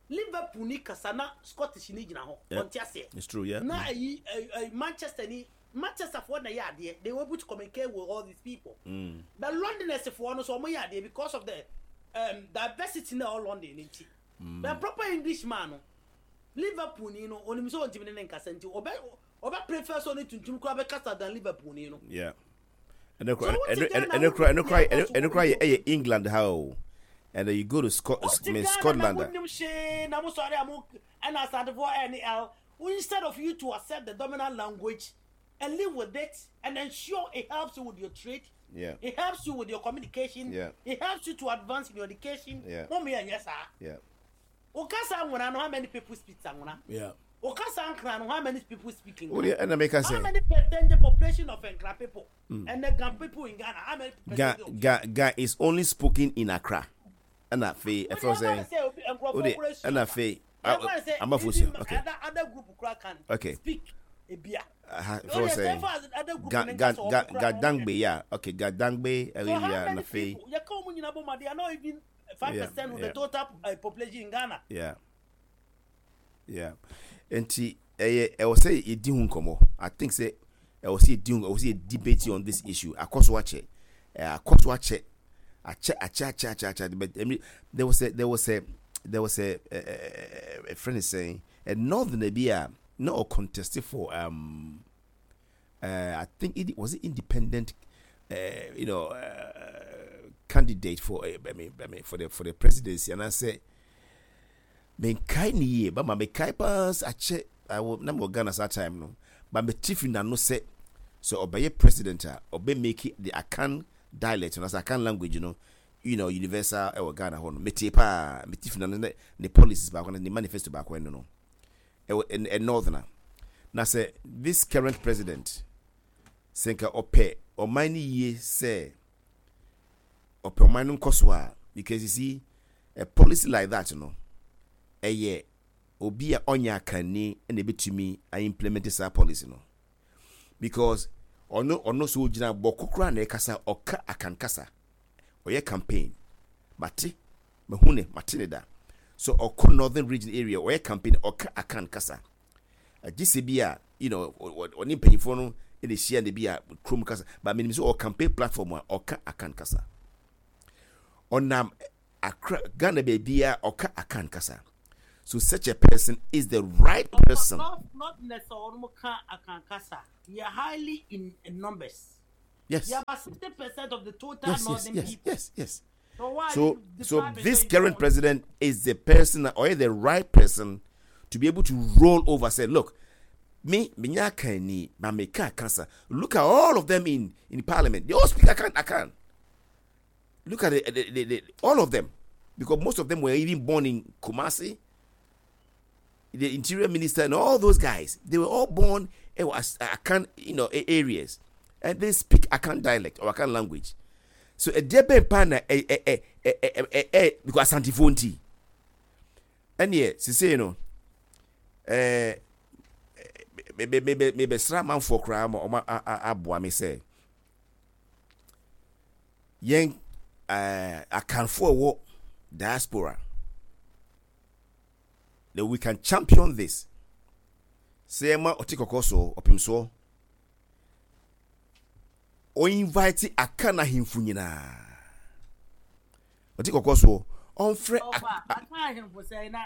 Liverpool ni kasa na Scottish ni gyina hɔ. Yeah. Ɔnte aseɛ. It's true. Yeah. Na ayi ayi Manchester ni Manchester foɔ na yɛ adeɛ, they were able to communicate with all these people Mm. but Londoners foɔ no so ɔmo yɛ adeɛ because of the um, diversity na ɛwɔ London ne nti Mm. but proper English man no, Liverpool ni no onim sɛ ɔntumi ne ne nkasa nti ɔbɛ ɔbɛ prefer sɛ ɔne tuntum kora bɛkasa than Liverpool ni no. Yeah. And So what and you and Ghana, and what and you and Ghana, and ɛyɛ England ha o. And then you go to Scot Wote I mean Ghana na Scotland. wonim hwee na mo sɔre a mo ɛna Asantefoɔ ɛne L, instead of you to accept the dominant language and live with it and ensure it helps you with your trade, Yeah. it helps you with your communication, Yeah. it helps you to advance in your education. Yeah. Mo mi yɛ saa. Yeah. Okasa Anwona no, how many people speak Anwona? Yeah. Okasa Nkran no, how many people speak Oh, Nkran? yeah, and make How say many percent the population of Nkran people and the Ga people in Ghana, how many Ga percent of Ga Ga is only spoken in Accra. And afei ɛfɛ sɛ o de ɛna afei amafo si okay. Other, other group kura can Okay. speak ebia. Aha, Oh, ɛfɛ yes, sɛ so other group Ga ne Ga nkasa Ga ɔmo kura Ga no. Dangbe, yeah, okay, Ga Dangbe So how area many na afei people? Yɛ ka ɔmo nyinaa bɔ ma, they are not even five percent of yeah. the total uh, population in Ghana. yeah yeah nti ɛyɛ ɛwɔ sɛ yɛdi ho nkɔmɔ. I think sɛ ɛwɔ sɛ yɛdi ho, ɛwɔ sɛ yɛ debate on this issue. Akɔ so akyɛ, ɛɛ akɔ so akyɛ akyɛ akyɛ akyɛ akyɛ akyɛ, but I mean, there was a there was a there was a a, a, a friend is saying a northerner bi a na ɔ contest for um uh, I think it was it independent uh, you know uh, candidate for uh, I mean I mean for the for the presidency, and I said menkae ne yie bama mekae paa sɛ akyɛ awɔ na mewɔ Ghana saa time no ba mete fi n'ano sɛ sɛ ɔbɛyɛ president a ɔbɛ make the Akan dialect no sɛ Akan language no you know universal ɛwɔ Ghana hɔ no. Mete paa mete fi n'ano ne ne policies baako ne manifesto baako ɛno no ɛwɔ ɛ northerner. Na sɛ this current president sɛ nka ɔpɛ ɔman no yie, sɛ ɔpɛ ɔman no nkɔ so a, because you see, a policy like that no ɛyɛ obi a ɔnyɛ akanni ɛna ebetumi a implement saa policy no, because ɔno ɔno so ogyina bɔkɔ koraa na ɛkasa ɔka Akan kasa ɔyɛ campaign. Mate mahu ne mate ne da so ɔkɔ Northern Region area ɔyɛ campaign ɔka Akan kasa agye sɛ bi a you know ɔne mpanyinfoɔ no ɛna ehyia ne bi a kurom kasa, but menim sɛ ɔwɔ campaign platform a ɔka Akan kasa. Ɔnam Accra, Ghana baabi a ɔka Akan kasa. So such a person is the right person. Not, not necessarily Akan kasa. We are highly in, in numbers. Yes. We are about sixty percent of the total Yes, yes, northern yes, people. yes, yes. So why So, you so deprive this yourself current of- president is the person or the right person to be able to roll over. Say, look, me, me nya Akanni, ma me ka kasa. Look at all of them in in parliament. They all speak Akan. Akan. Look at the, the, the, the, all of them, because most of them were even born in Kumasi. The interior minister and all those guys, they were all born in Akan, you know, areas, and they speak Akan dialect or Akan language. So a debe pa na eh eh eh eh eh eh eh because Asantefoɔ nti. Ɛneɛ sisei no eh me me me me besra manfoɔ koraa ma ɔma aboa me sɛ yɛn eh Akanfoɔ wɔ diaspora that we can champion this. Sɛ ma ɔte kɔkɔɔ so ɔpem soɔ o invite Akan ahemfo nyinaa ɔte kɔkɔɔ soɔ ɔmfrɛ Akan ahemfo sɛ na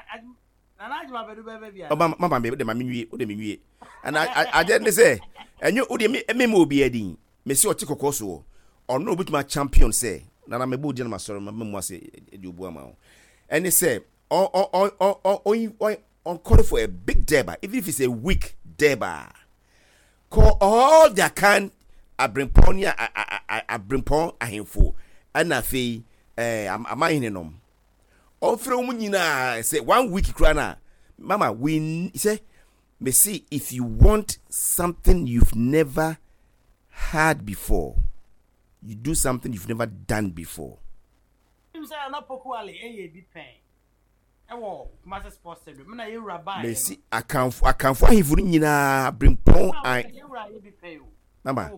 Nana Adjuma Bɛdu bɛbɛ bia. Ɔba mama me de ma me nwie o de me nwie ana agye ne sɛ ɛnyɛ o de me me ma obi adin me se ɔte kɔkɔɔ soɔ ɔno obituma champion sɛ nana me bo di na ma sɔrɔ ma mu ase de obu ama wo ɛne sɛ ɔ ɔ ɔ ɔ ɔ ɔ call for a big durbar, even if it's a week durbar. Call all the Akan abrempɔn ne abrempɔn ahemfo ɛna afei ɛɛ amahene nom ɔmfrɛ wɔn nyinaa sɛ one week kura na mama we say me see if you want something you've never had before, you do something you've never done before. Mesi akanfo akanfo ahemfo no nyinaa abrempɔn an mama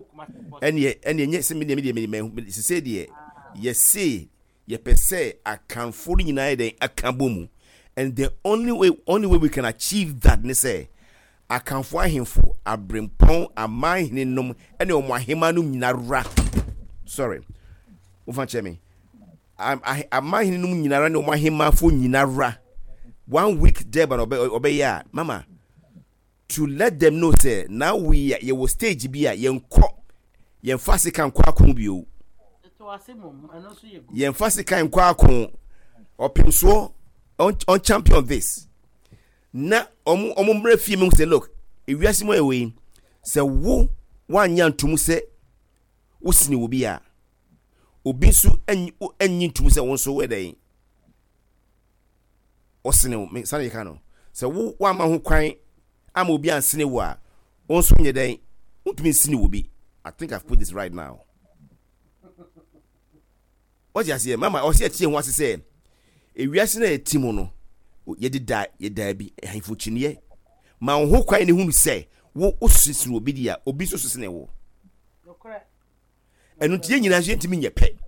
ɛneɛ ɛneɛ nyɛ sɛ medeɛ medeɛ medeɛ sese deɛ yɛse yɛpɛ sɛ akanfo no nyinaa yɛ dɛn aka bɔ mu, and the only way only way we can achieve that ne sɛ akanfo ahemfo abrempɔn amanhene nom ɛne ɔmo ahema nom nyinara, sorry, wofa kyerɛ me, amanhene nom nyinara ne ɔmo ahemafo nyinara one week durbar na ɔbɛyɛ a mama to let them know say now we yɛwɔ stage bi a yɛnkɔ yɛmfa sika nkɔ ako bio, yɛmfa sika nkɔ ako. Ɔpemsoɔ on champion this na ɔmo ɔmo mmerɛ fie mu sɛ look, ewiase mu ɛwɔ yi sɛ wo wanya ntom sɛ wosini wo bi a obi nso anyi ntom sɛ wo nso wɔ dɛn ɔsene wo sane yɛ ka no sɛ wo wama ho kwan ama obi ansene wo a wo nso nyɛ dɛn wontumi nsene wo bi. I think I've put this right now. Wɔte aseɛ mama ɔsɛ ɛteɛ ho ase sɛ ewiase na yɛte mu no yɛde da yɛda bi ahemfo kyiniiɛ ma wo ho kwan ne hunu sɛ wo wosesene obi di a obi nso sesene wo ɛno nti yɛn nyinaa nso yɛntumi nyɛ pɛ.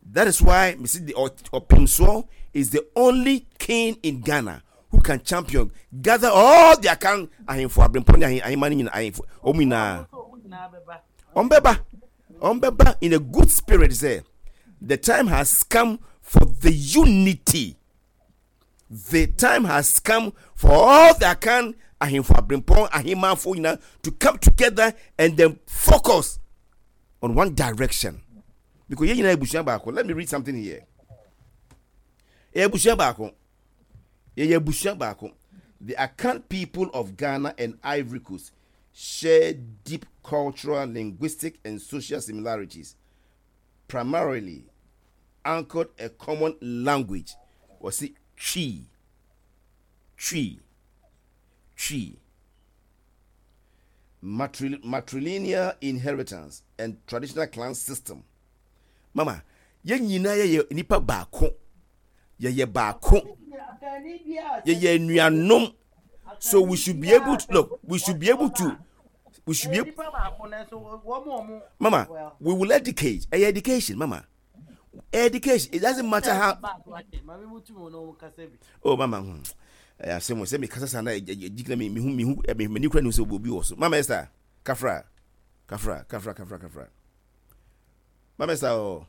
That is why me see the Opemsoɔ is the only king in Ghana who can champion, gather all the Akan ahemfo abrempɔn ne ahemma no nyinaa ahemfo wɔn nyinaa wɔn bɛba wɔn bɛba in a good spirit sɛ the time has come for the unity. The time has come for all the Akan ahemfo abrempɔn ahemafo nyinaa to come together and then focus on one direction because yɛn nyinaa ebusua baako. Let me read something here. Yɛ ebusua baako, yɛyɛ ebusua baako. The Akan people of Ghana and Ivory Coast share deep cultural, linguistic and social similarities, primarily anchored a common language. Wɔsi Twi, Twi, Twi, Matri matrilineal inheritance and traditional clan system. Mama, yɛn nyinaa yɛyɛ nipa baako, yɛyɛ baako, yɛyɛ nuanom, so we should be able to look, we should be able to we should be able, mama, we will educate. Ɛyɛ education, mama, education. It doesn't matter how. Oh mama, hmm ɛyɛ asɛm sɛ mekasa saa na gyina me mehu mehu m'ani kura ne sɛ obi wɔ so. Mama Esther, kafra kafra kafra kafra kafra, Mama Esther o.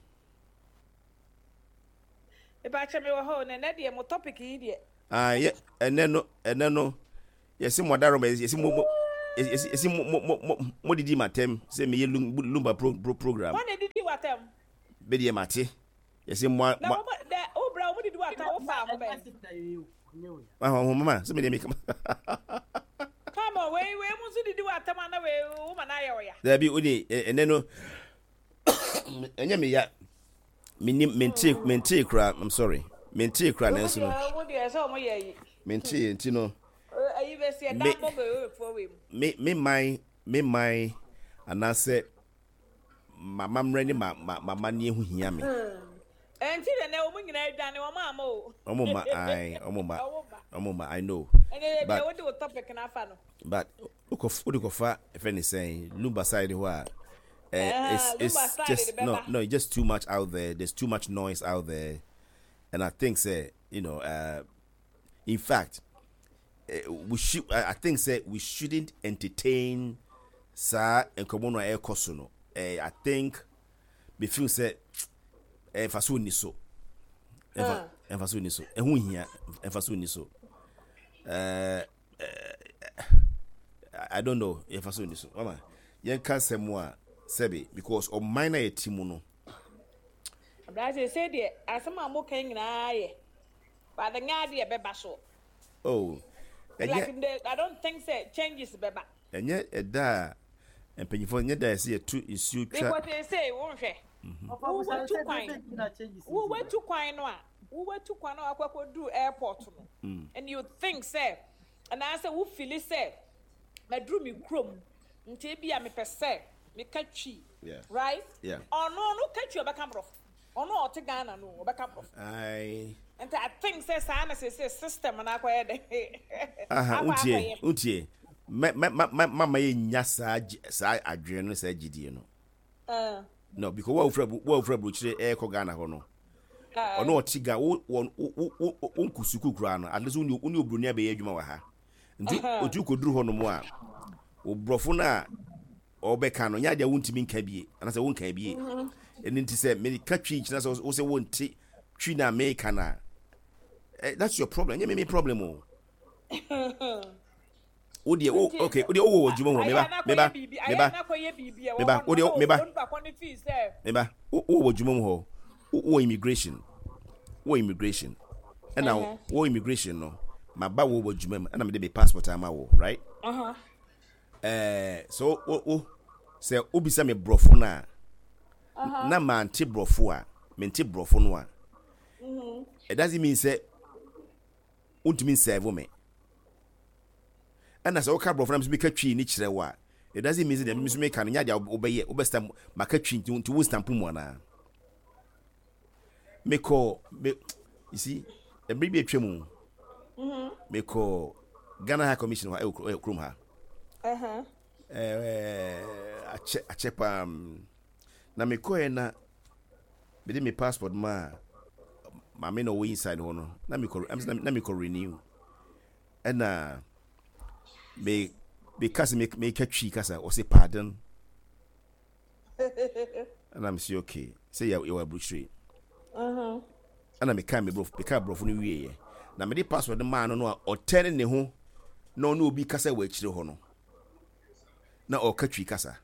Mepakyɛ, me wɔ hɔ o. Na ɛnɛ deɛ mo topic yi deɛ Ah, yɛ ɛnɛ no ɛnɛ no yɛsi mo adaroma, yɛsi mo mo yɛsi yɛsi mo mo mo mo mo didi ma tɛm sɛ meyɛ lumba pro pro program. Wɔn na didi watam. Bɛ deɛ ma te yɛsi mo a. Na wɔn dɛ o bra wɔn didi watam o fa ho bɛn. Ahɔn ho mama sɛ mi deɛ mi kama. Come on, wei wei mu nso didi watam ana, wei wo ma na ayɛ ɔya. Dabi, o de ɛnɛ no ɛnyɛ mi ya, mi ni mente mente kura. I'm sorry, mente kura, nanso no wo deɛ sɛ ɔmo yɛ yi. Mente nti no. Ayi bɛ si ɛda bɔ bɛ wɔ wei mu. Me me man me man anaasɛ mamammerɛ ne ma ma mamanneɛ ho hia me. Ɛnti de nɛ wɔn nyinaa adwane wɔn ama o. Ɔmo ma ae, ɔmo ma, ɔmo ma, I know. Ɛnɛ yɛ deɛ wode wo topic n'afa no. But wokɔ wode kɔfa ɛfɛ ne sɛn Lumba side hɔ a, uh, it's it's just no no it's just too much out there. There's too much noise out there, and I think say you know uh, in fact, uh, we should I, I think say we shouldn't entertain saa nkɔmɔ no a ɛrekɔ so no. uh, I think me feel sɛ ɛnfa so ni so, ɛnfa ɛnfa so ni so, ɛho hia, ɛnfa so ni so. ɛɛ I don't know, ɛnfa so ni so. Mama, yɛn ka nsɛm a sɛbi, because ɔman na yɛ ti mu no. Abrase sɛ deɛ asɛm a mo kan nyinaa yɛ, but nyɛ adeɛ bɛba so. Oh. Like the, I don't think say changes bɛba. Ɛnyɛ ɛda a mpanyinfoɔ nyɛ da yɛ sɛ yɛtu nsuo twa. Because they say wɔn hwɛ, wowatu kwan wowatu kwan no a wowatu kwan no akɔ akɔduru airport no mm. and you think sɛ anaasɛ wo feel sɛ maduru mi kurom, nti ebi a mepɛ sɛ meka Twi, right? Ɔno no ka Twi, ɔbɛka Borɔfo. Ɔno a ɔte Ghana no, ɔbɛka Borɔfo. Nti I think sɛ saa na sɛ sɛ system no akɔyɛ dɛ. Aha, ntie ntie, mɛ mɛ mɛ mama yɛ nya saa saa adwene no, saa gyidie no no, because wo a wofura wo a wofura burokyire ɛɛkɔ Ghana hɔ no, ɔno ɔte Ghana, wo wo wo wo wo nkɔ sukuu koraa no, at least wo ne wo ne oburoni abɛyɛ adwuma wɔ ha, nti otu kɔduru hɔ nom a, oborɔfo no a ɔbɛka no nyɛ adeɛ a wontumi nka bie anaasɛ wonka bie. Ɛno nti sɛ meka Twi nkyerɛ sɛ wo sɛ wonte Twi no a meka no a, that's your problem, ɛnyɛ me me problem o. Wo deɛ wo, okay, wo deɛ wowɔ wɔ adwuma mu hɔ, meba meba meba meba, wo deɛ meba meba, wowɔ wɔ adwuma mu hɔ, wowɔ immigration wowɔ immigration ɛna wowɔ immigration no, maba wɔ wɔ adwuma mu ɛna mede me passport ama wo, right? ɛɛ so wo wo sɛ wobisa me Borɔfo no a na mante Borɔfo a mente Borɔfo no a, it doesn't mean sɛ wontumi nserve me. Ɛna sɛ woka Borɔfo na meka Twi ne kyerɛ wo a, it doesn't mean sɛ deɛ nso meka no nyɛ adeɛ wobɛyɛ, wobɛstamp maka Twi nti nti wo stamp mu anaa. Mekɔ me, you see, ɛbere bi atwa mu, mekɔ Ghana High Commission hɔ ɛwɔ kurom ha, ɛɛ akyɛ akyɛ paa na mekɔɛ, na mede me passport ma maame na ɔwɔ inside hɔ no, na mekɔ na mekɔ renew, ɛna me meka sɛ meka Twi kasa, ɔsɛ "Pardon?" Ɛna me sɛ okay, sɛ yɛwɔ aburukyire. Ɛna meka me borɔfo, meka borɔfo no wieɛ na mede passport no maa no no a ɔtɛne ne ho na ɔne obi kasa wɔ akyire hɔ no na ɔka Twi kasa.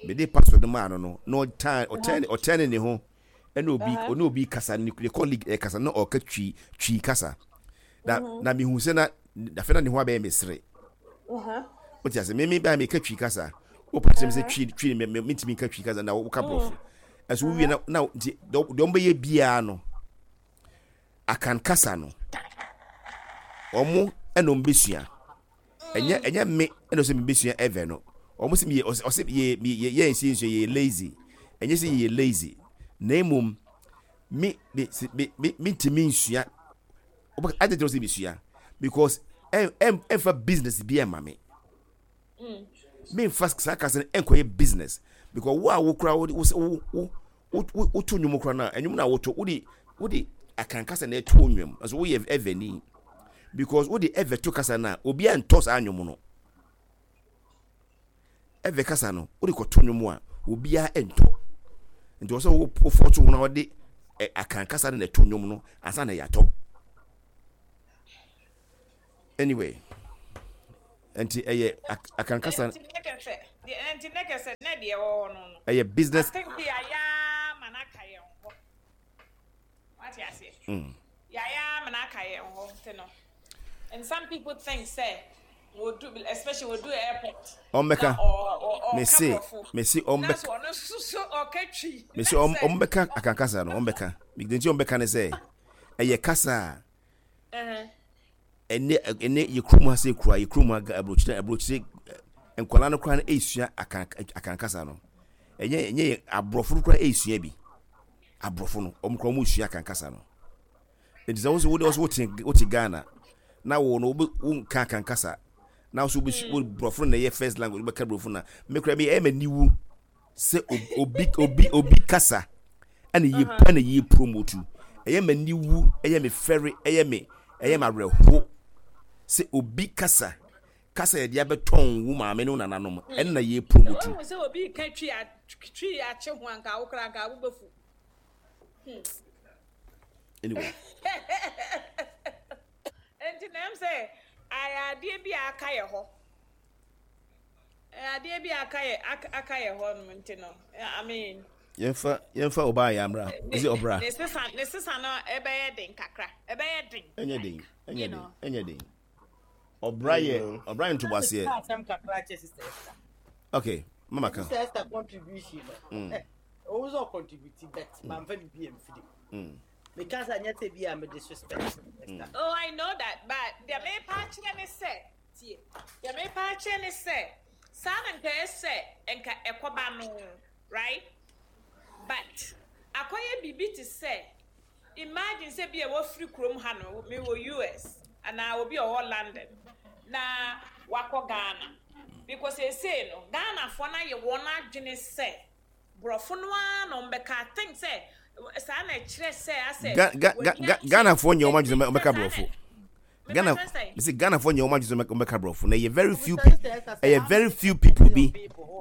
Mede passport no maa no no na ɔtɛne ɔtɛne ɔtɛne ne ho ɛna obi ɔne obi kasa, ne ne colleague ɛkasa na ɔka twi twi kasa, na na mehu sɛ na afei na ne ho abɛyɛ mesere. Wote ase? Me me ba meka Twi kasa, wopɛ kyerɛ me sɛ Twi Twi me me mentumi nka Twi kasa na woka Borɔfo ɛso wowie na na nti deɛ ɔmo bɛyɛ biara no, Akan kasa no ɔmo ɛna ɔmo bɛsua. Ɛnyɛ ɛnyɛ me ɛna ɔsɛ me bɛsua ɛvɛ no. Ɔmo sɛ meyɛ, ɔsɛ yɛ yɛ yɛ nsi nsua, yɛ lazy. Ɛnyɛ sɛ yɛ lazy, na emom me me me me mentumi nsua adi tɛ sɛ mesua because ɛ ɛ ɛnfa business bi ɛma me, memfa saa kasa no ɛnkɔyɛ business, because wo a wo kora wo wo wo wo woto nnwom kora no a, nnwom no a woto, wode wode Akan kasa na ɛto nnwom nso, woyɛ Ɛvɛni, because wode Ɛvɛ to kasa no a, obiara ntɔ saa nnwom no. Ɛvɛ kasa no wode kɔto nnwom a, obiara ntɔ, nti wɔ sɛ wofɔ to ho na wɔde Akan kasa no na ɛto nnwom no ansa na yɛatɔ. Anyway, nti ɛyɛ Akan kasa. Nti ne kɛsɛ, nti ne kɛsɛ ne deɛ ɛwɔ hɔ no no. Ɛyɛ business. I think yɛayɛ ama no aka yɛn hɔ. Wate aseɛ? Mm. Yɛayɛ ama no aka yɛn hɔ nti no. And some people think sɛ wodu, especially wodu airport. Ɔmbɛka. Na ɔ ɔ ɔka Mese borɔfo. mese Na ɔmbɛka. so ɔno nso so ɔka Twi. Mese Na sɛ ɔmbɛka Akan kasa no, ɔmbɛka. Nti ɔmbɛka ne sɛ ɛyɛ kasa a ɛhɛn. Ɛnɛ ɛnɛ yɛ kurom ha sɛ kura yɛ kurom ha, aburokyire aburokyire nkwadaa no koraa no esua akan akan kasa no. Ɛnyɛ ɛnyɛ yɛ aborɔfo no koraa esua bi. Aborɔfo no, ɔmo koraa ɔmo esua Akan kasa no. Nti sɛ wosi wode wɔsi wote wote Ghana na wo no wo nka Akan kasa na wo so wo borɔfo no na ɛyɛ first language, wobɛka borɔfo na me koraa mi ɛyɛ m'ani wu sɛ obi obi obi kasa ɛna yɛ ɛna yɛ promote. Ɛyɛ m'ani wu, ɛyɛ me fɛre, ɛyɛ me ɛyɛ me awerɛho sɛ obi kasa kasa yɛde abɛtɔn wo maame ne wo nananom ɛna yɛ promote. Wohu sɛ obi ka Twi a Twi akye ho anka wo koraa anka wobɛfu. Anyway. Nti na ɛm sɛ ayɛ adeɛ bi a aka yɛ hɔ. Ɛyɛ adeɛ bi a aka yɛ aka aka yɛ hɔ nom nti no, I mean. Yɛmfa yɛmfa ɔbaa yɛ amra ɛsɛ ɔbra. Ne sesa ne sesa no ɛbɛyɛ den kakra. Ɛbɛyɛ den. Ɛnyɛ den, ɛnyɛ You den, know. ɛnyɛ den. Ɔbra yɛ ɔbra yɛ ntoboaseɛ. Asɛm kakra kyɛ Sister Esther. Okay, mama ka. Sister Esther contribution no. Mm. Ɔwɔ sɛ ɔcontribute, but mamfa biribi amfiri mu. Mm. Meka sɛ nyɛ sɛ bi a me disrespect Esther. Oh, I know that, but deɛ mepa akyerɛ ne sɛ, tie. Deɛ mepa akyerɛ ne sɛ, saa na nka ɛsɛ nka ɛkɔba no, right? But akɔyɛ biribi te sɛ, imagine sɛ bi a wɔfiri kurom ha no, mewɔ U S anaa obi a ɔwɔ London na wakɔ Ghana. Because seesei no, Ghanafoɔ no ayɛ wɔn adwene sɛ borɔfo no ara na ɔmbɛka. I think sɛ saa na ɛkyerɛ sɛ asɛ Ga ga ga ga Ghanafoɔ nyɛ wɔn adwene sɛ ɔbɛka borɔfo. Ghana Mepa kyerɛ sɛ mesi Ghanafoɔ nyɛ wɔn adwene sɛ ɔbɛka borɔfo na ɛyɛ very few people, ɛyɛ very few people bi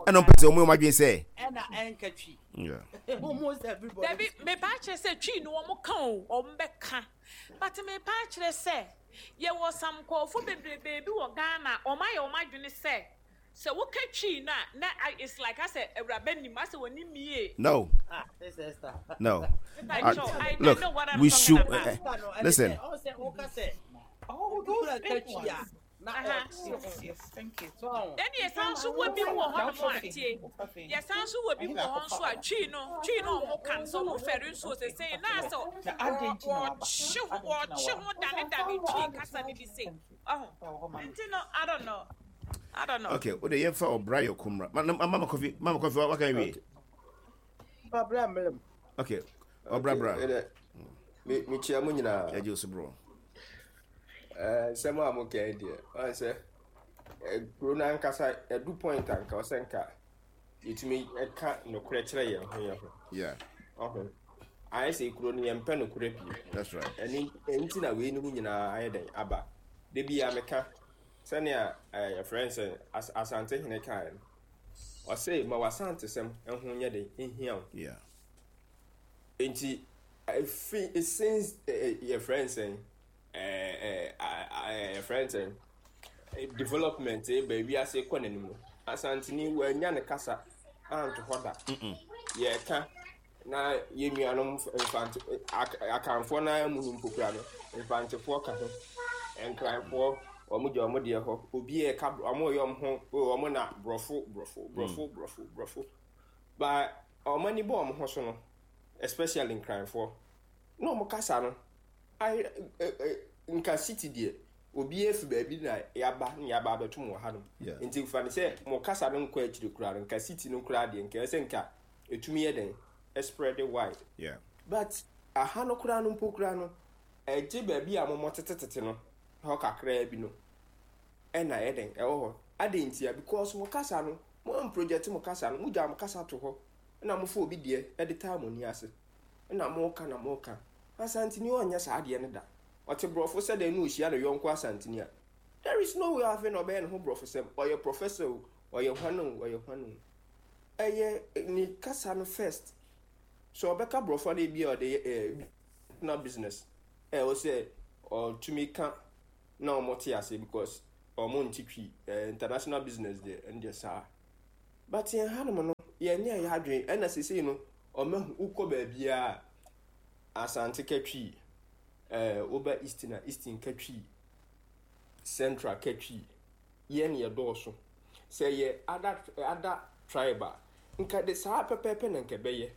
ɛna ɔmpɛ sɛ wɔn yɛ wɔn adwene sɛ. Ɛna ɛnka Twi. Yeah. Almost everybody. Dabi, mepa akyerɛ sɛ Twi no wɔn ka o, wɔn bɛka, but mepa akyerɛ sɛ yɛwɔ some nkɔɔfo bebrebe bi wɔ Ghana, wɔn ayɛ wɔn adwene sɛ sɛ woka Twi no a na a- it's like asɛ awuraba nim asɛ wɔn nim yie. No, Ah, Sister Esther. no. Mepa Uh, kyerɛ, I, I look, know what I'm we talking should about. uh, Esther no, ɛne listen. sɛ ɔwɔ sɛ woka sɛ Oh, obi those kura big ka Twi a ones. na Uh-huh. ɔkye Yes, yes, thank you. so ɔho. Ɛne yɛsan nso wɔ bi mu wɔ hɔnom a, tie, yɛsan nso wɔ bi mu wɔ hɔ nso a Twi no Twi no ɔmo ka no sɛ ɔmo fɛre nso sese na asɛ Na adɛn nti na waba? wɔkye ho Adɛn nti na wɔkye waba? ho dane dane Twi kasa no bi se ɔho. Ɛwɔ hɔ ma me. Nti no, I don't know, I don't know. Okay, o de yɛmfa ɔbra yɛ kumra. Ma ma Mama Kofi, Mama Kofi, waka wie. Okay. Pabra mmerɛ mu. Okay, ɔbra bra. Ɛdɛ me mekyia mo nyinaa. Yɛgye wo so, bro. Ɛɛ, nsɛm a moka yi deɛ, ɔn sɛ ɛ, kuro no ankasa ɛdu point a nka ɔsɛ nka yɛtumi ɛka nokorɛ kyerɛ yɛn ho yɛn ho. Yeah, Ɔho ayɛ sɛ kuro no yɛmpɛ nokorɛ pii. That's right. Ɛne ɛnti na wei no mu nyinaa ayɛ dɛn aba. Da bi a meka sɛnea ɛɛ yɛfrɛ no sɛ As Asantehene kaeɛ no, ɔse ma w'asantesɛm ho nyɛ den nhia wo. Yeah. Nti efi since ɛ yɛfrɛ no sɛn ɛɛ ɛɛ yɛfrɛ no sɛn development eba wiase kɔ n'anim no, Asanteni wanya ne kasa anto hɔ da. Yɛka na yɛn nuanom Mfante Akanfoɔ naa mu no mpo kura no, Mfantefoɔ ka ho, Nkranfoɔ wɔn gya wɔn deɛ hɔ, obi yɛ ka wɔn yɛ wɔn ho wɔn na borɔfo borɔfo borɔfo borɔfo borɔfo ba wɔn ani bɔ wɔn ho so no, especially Nkranfoɔ na wɔn kasa no ayɛ ɛ ɛ nka city deɛ obi efi baabi na yaba na yaba abɛto mu wɔ hanom. Yeah. Nti fa ne sɛ mo kasa no nkɔ akyire koraa no, nka city no koraa deɛ nka ɛsɛ nka etumi yɛ den spread wide. Yeah. But aha no koraa no mpo koraa no, ɛgye baabi a momɔ tetetete no hɔ kakraa bi no ɛna ɛyɛ den ɛwɔ hɔ ade ntia, because mo kasa no mo am project, mo kasa no mo gya mo kasa to hɔ ɛna mo fa obi deɛ ɛde taa mo ni ase ɛna mo ka na mo ka. Asanteni ɔnyɛ saa adeɛ no da. Ɔte borɔfo sɛ dɛn na ohyia ne yɔnko Asanteni a, there is no way afei na ɔbɛyɛ ne ho borɔfo sɛm. Ɔyɛ professor o, ɔyɛ hwan o, ɔyɛ hwan o, ɛyɛ ne kasa no first. Sɛ ɔbɛka borɔfo a, na ebi a ɔde yɛ ɛɛ na business ɛwɔ sɛ ɔtumi ka na ɔmo te ase because ɔmo nte Twi. ɛɛ international business deɛ, ɛno deɛ saa. But yɛn hanom no, yɛnyɛ yɛ adwene. Ɛna sesei no, ɔmo wokɔ baabiara, Asante ka Twi, ɛɛ woba Eastern a, Eastern ka Twi, Central ka Twi. Yɛn yɛ dɔɔso. Sɛ yɛ other other tribe a, nka de saa pɛpɛɛpɛ na nka ɛbɛyɛ.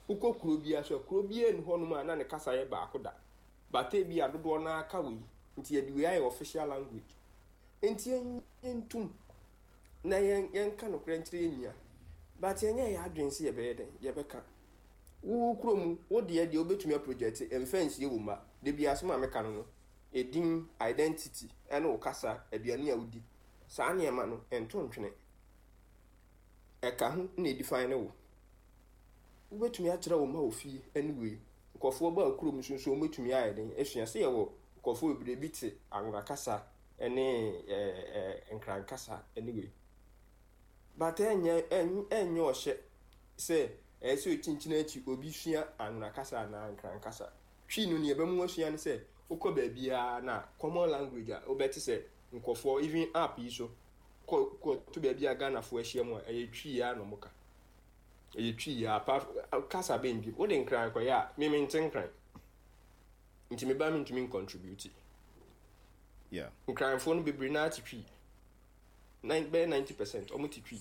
Wokɔ kuro biara so a, kuro biara ni hɔnom a na ne kasa yɛ baako da. But ebi a dodoɔ naa ka wei nti, yɛde wei ayɛ official language. Nti yɛn yɛntum na yɛn yɛnka nokorɛ nkyerɛ yɛn nua, but yɛnyɛ yɛ adwene sɛ yɛbɛyɛ dɛn yɛbɛka. Wo kurom wo deɛ deɛ wobɛtumi aproject mfa nsie wo mma. De bi asɛm a meka no no edin, identity, ɛne wo kasa, aduane a wodi, saa nneɛma no nto ntwene. Ɛka ho na edefine ne wo. Wobɛtumi akyerɛ wo mma wɔ fie. Anyway, nkɔfoɔ baa kurom nso nso wɔbɛtumi ayɛ den asua sɛ yɛwɔ nkɔfoɔ bebree bi te Anwona kasa ɛne ɛɛ ɛɛ Nkran kasa anyway, but ɛnyɛ ɛnyɛ ɔhyɛ sɛ ɛyɛ sɛ okyinkyini akyi obi sua Anwona kasa anaa Nkran kasa. Twi no, nea ɛbɛmu asua ne sɛ wokɔ baabiara na common language a wobɛte sɛ nkɔfoɔ, even app yi so, kɔ kɔ to baabi a Ghanafoɔ ahyia mu a, ɛyɛ Twi a na ɔmo ka. Ɛyɛ Twi a, apart kasa bɛn bi wode Nkran kɔyɛ a, meme nte Nkran nti meba mentumi ncontribute. Yeah. Nkranfoɔ no bebree naa te Twi, bɛyɛ ninety percent ɔmo te Twi.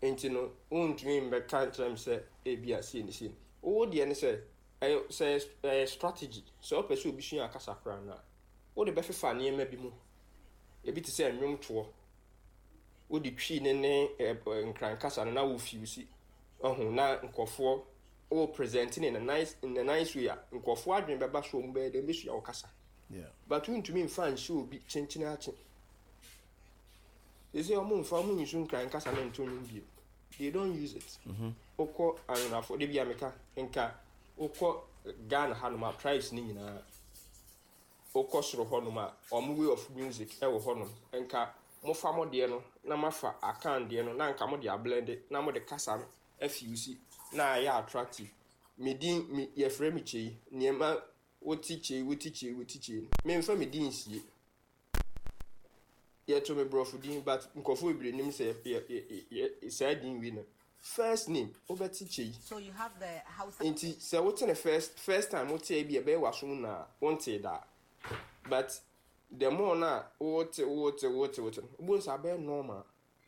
Nti no wontumi mbɛka nkyerɛ m sɛ ebi a sie ne sie. Wo deɛ ne sɛ ɛyɛ sɛ ɛyɛ strategy sɛ wopɛ sɛ obi sua akasa koraa no a, wode bɛfefa nneɛma bi mu, ebi te sɛ nnwomtoɔ. Wode Twi ne ne Nkran kasa no na wofuse ɔho na nkɔfoɔ wo present ne in a nice in a nice way a, nkɔfoɔ adwene bɛba so, ɔmo bɛyɛ dɛ mbɛsua wo kasa. Yeah. But wontumi mfa nhyɛ obi kyenkyene akye they say ɔmo mfa ɔmo nyisu Nkran kasa no nto nnwom bio. They don't use it. Wokɔ Anwonafo de bi a meka nka, wokɔ Ghana hanom a, tribes ne nyinaa, wokɔ soro hɔnom a, ɔmo way of music ɛwɔ hɔnom. Nka mofa mo deɛ no na mafa Akan deɛ no na nka mo de ablend na mo de kasa no afuse na ayɛ attractive. Me din me yɛfrɛ me Kyei. Nneɛma wote Kyei, wote Kyei, wote Kyei no, memfa me din nsie. Yɛto me borɔfo din, but nkurɔfoɔ bebree nim sɛ yɛ yɛ yɛ saa din wei no first name wobɛte Kyei. So you have the Hausa. Nti sɛ wote ne first first time, wote bi, ɛbɛyɛ w'asom na wonte daa. But the more na wote wote wote wote no, wobɛhu sɛ abɛyɛ normal,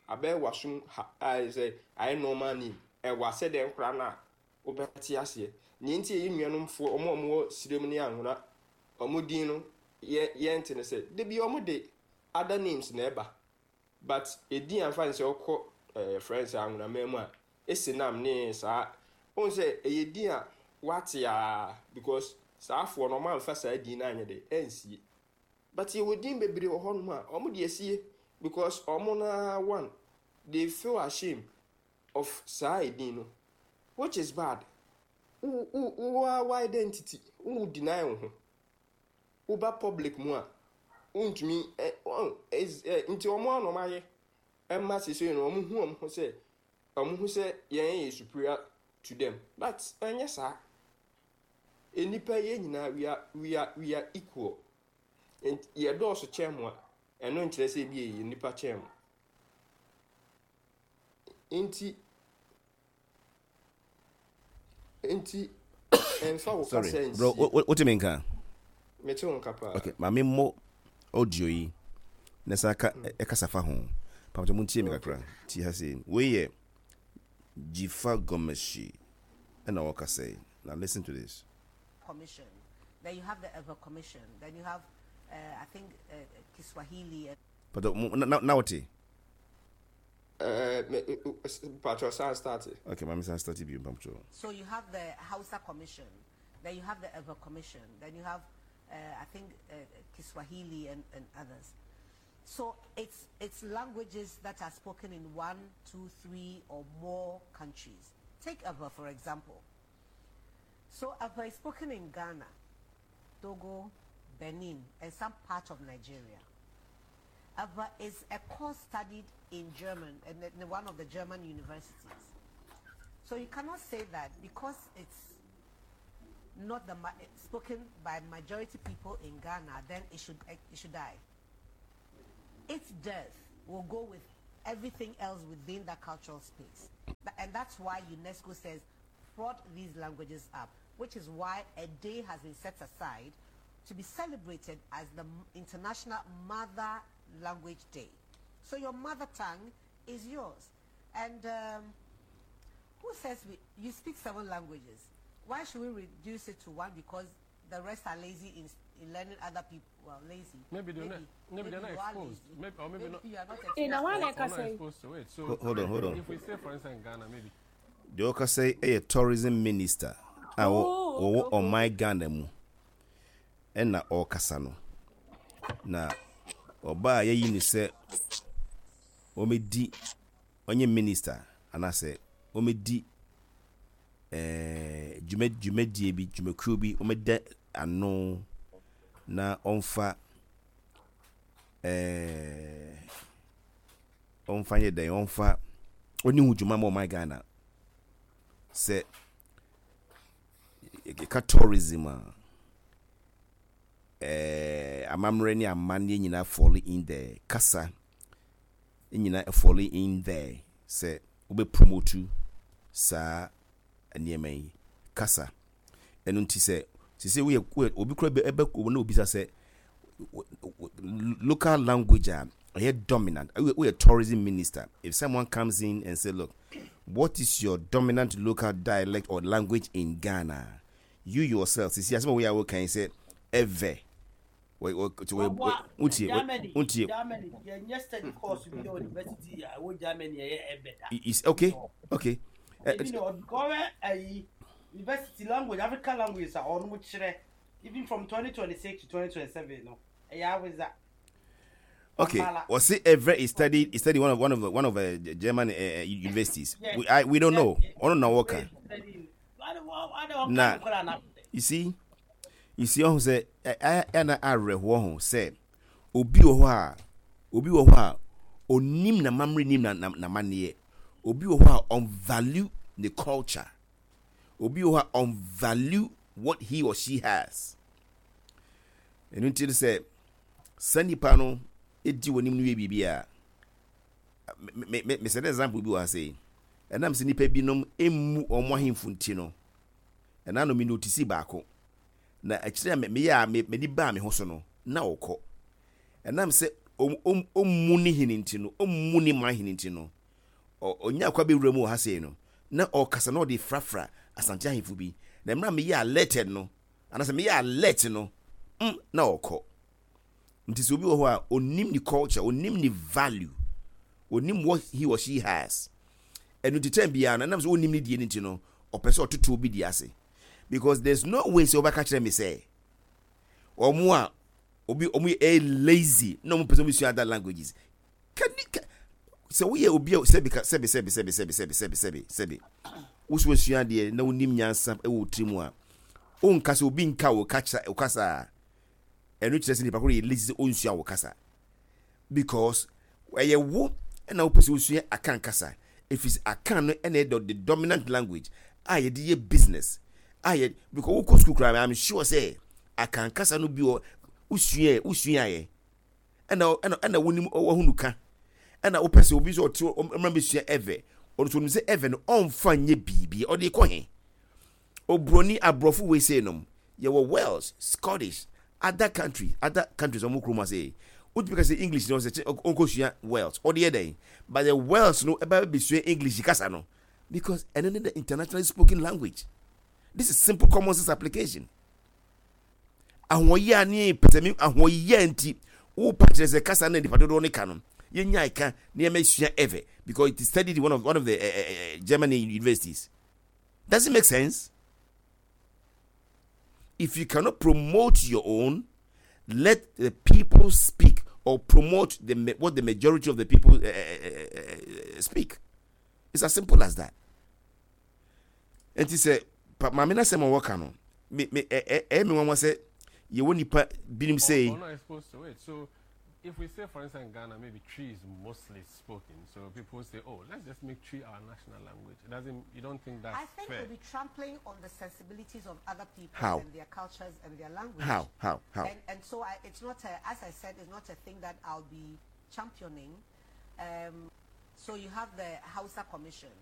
abɛyɛ w'asom ha, ayɛ sɛ ayɛ normal name. Ɛwɔ asɛ dɛn koraa no a wobɛte aseɛ. Nea nti ɛyɛ nuanomfoɔ ɔmo a ɔmo wɔ sirem ne Anwona ɔmo din no yɛ yɛnte ne sɛ de bi ɔmo de other names na ɛba. But edin amfa ne sɛ ɔkɔ ɛɛ friends Anwonaman mu a, esi nam ne saa ohun sɛ ɛyɛ din a wate a, because saa afoɔ no ɔmo amfa saa din no anyɛ de ɛnsie. But yɛwɔ din bebree wɔ hɔnom a ɔmo de asie because ɔmo na one, they feel ashamed of saa edin no, which is bad. Wo wo wo wo identity wo deny wo ho, woba public mu a, wontumi ɛ ɔn ɛ nti ɔmo ano ɔmo ayɛ ɛma sese no, ɔmo hu ɔmo ho sɛ ɔmo hu sɛ yɛn yɛ superior to them. But ɛnyɛ saa. Enipa yɛn nyinaa, we are we are we are equal. Nti yɛ dɔɔso kyɛn mo a, ɛno nkyerɛ sɛ ebi yɛ nipa kyɛn mo. Nti nti ɛnfa wo Sorry. kasa Bro, nsie. wotumi nka? Mete wo nka paa. Okay, maame mmɔ audio yi na sa ka ɛkasa fa ho. Pamkyɛ montie me kakra. Ti ha sei. Wei yɛ Dzifa Gomashie ɛna wɔkasa yi. Now listen to this. Commission. Then you have the Ewe Commission. Then you have, uh, I think, uh, Kiswahili. And But mo- na na na wote? Ɛɛ me patro, san start. Okay, maame san start bio, pamkyɛ. So you have the Hausa Commission. Then you have the Ewe Commission. Then you have, uh, I think, uh, Kiswahili and, and others. So it's, it's languages that are spoken in one, two, three, or more countries. Take Ewe, for example. So Ewe is spoken in Ghana, Togo, Benin, and some part of Nigeria. Ewe is a course studied in German, in, in one of the German universities. So you cannot say that because it's not the spoken by majority people in Ghana, then it should it should die. Its death will go with everything else within that cultural space. And that's why UNESCO says prod these languages up, which is why a day has been set aside to be celebrated as the International Mother Language Day. So your mother tongue is yours. And um, who says we, you speak seven languages? Why should we reduce it to one? Because the rest are lazy in, in learning other people. Well, lazy. Maybe they're maybe, not. Maybe, maybe they're not exposed. Maybe, or maybe, maybe not. You are not exposed. In or, or not exposed to it. So hold on, hold on. If we say, for instance, Ghana, maybe. The Oka say a tourism minister. Oh, on my Ghana mu. Ɛna ɔrekasa no na ɔbaa yɛyi ne sɛ ɔmɛdi ɔnyɛ minister anaasɛ ɔmɛdi ɛɛ dwuma dwumadie bi dwumakuo bi ɔmɛda ano na ɔmfa ɛɛ ɔmfa nyɛ dɛn ɔmfa ɔne ho dwuma ma ɔman Ghana sɛ yɛka tourism a ɛɛ amammerɛ ne amanneɛ nyinaa fall in there kasa nyinaa fall in there sɛ wobɛ promote saa nneɛma yi kasa ɛno nti sɛ sisi woyɛ woyɛ obi kura ɛbɛ na obisa sɛ local language a ɛyɛ dominant woyɛ tourism minister if someone comes in and say look what is your dominant local dialect or language in Ghana you yourself sisi asɛm a woyɛ a wokan sɛ Ewe wontie wontie Germany yɛnyɛ study course bi wɔ university a ɛwɔ Germany ɛyɛ Ewe da is okay okay ebi na ɔkɔwɛ ayi university language African language a ɔno mo kyerɛ even from twenty twenty six to twenty twenty seven no ɛyɛ Hausa. Okay, well, see, Ewe is studied is studied one of one of the, one of the uh, German uh, universities. Yeah. We I, we don't know. I don't know what kind. Na you see, you see, ɔho sɛ ɛna awerɛhoɔ ho sɛ obi wɔ hɔ a obi wɔ hɔ a onim na mamre nim na n'amanneɛ obi wɔ hɔ a ɔnvalue the culture obi wɔ hɔ a ɔnvalue what he or she has ɛno nti sɛ saa nipa no edi wɔn anim no yɛ biribi a me me me sɛ example bi wɔ ha sɛ ɛnam sɛ nipa binom emu wɔn ahemfo nti no ɛna no mi notice baako na akyire a meyɛ a m'ani baa me ho so no na ɔkɔ ɛnam sɛ ɔmmu ne hene nti no ɔmmu ne man hene nti no ɔnya akwa bɛwura mu wɔ ha sei no na ɔkasa na ɔde frafra asante ahemfo bi na mmerɛ a meyɛ alerted no anaasɛ meyɛ alert no mm, na ɔkɔ nti sɛ obi wɔ hɔ a onim ne culture onim ne value onim what he or she has ɛno nti time biara no ɛnam sɛ onim ne die no nti no ɔpɛ sɛ ɔtoto obi di ase because there's no way sɛ ɔbɛka kyerɛ me sɛ ɔmo a obi ɔmo yɛ lazy na ɔmo pɛ sɛ ɔmo sua other languages can can sɛ woyɛ obi a sɛbi sɛbi sɛbi sɛbi sɛbi sɛbi sɛbi sɛbi sɛbi woso asua adeɛ na wonim nyansa ɛwɔ tiri mu a wonka sɛ obi nka wo kasa wo kasa a ɛno kyerɛ sɛ nipa koro yɛ lazy sɛ onsua wo kasa because ɛyɛ wo ɛna wopɛ sɛ wosua akan kasa ɛfiri sɛ akan no ɛna ɛyɛ the dominant language a yɛde yɛ business a yɛ because wokɔ school koraa i'm sure sɛ akan kasa no bi wɔ wosua wosua yɛ ɛna ɛna ɛna wonim wɔhunu ka ɛna wopɛ sɛ obi sɛ ɔte ɔmra bɛsua Ewe ɔno nso onim sɛ Ewe no ɔmfa nyɛ biribi ɔde kɔ he oburoni aborɔfo wei sei nom yɛwɔ Wales Scottish other countries other countries ɔmo kurom ase wotumi ka sɛ English no ɔsɛ ɔnkɔsua Wales ɔde yɛ dɛn but the Wales no ɛbɛ bɛsua English kasa no because ɛno ne the internationally spoken language this is simple common sense application ahoɔyɛ ne pɛsɛmi ahoɔyɛ nti wopa kyerɛ sɛ kasa no nipa dodoɔ ne ka no yɛnya ɛka nneɛma sua Ewe because it is studied in one of one of the uh, uh, Germany universities does it make sense if you cannot promote your own let the people speak or promote the what the majority of the people uh, uh, speak it's as simple as that nti sɛ maame na sɛm a wɔka no me me ɛ ɛ ɛyɛ mi nwanwa sɛ yɛwɔ nipa binom sɛ. Or not exposed to it so If we say, for instance, in Ghana, maybe Twi is mostly spoken, so people say, "Oh, let's just make Twi our national language." It doesn't. You don't think that's I think fair? we'll be trampling on the sensibilities of other people How? and their cultures and their language. How? How? How? And, and so I, it's not, a, as I said, it's not a thing that I'll be championing. Um, so you have the Hausa Commission.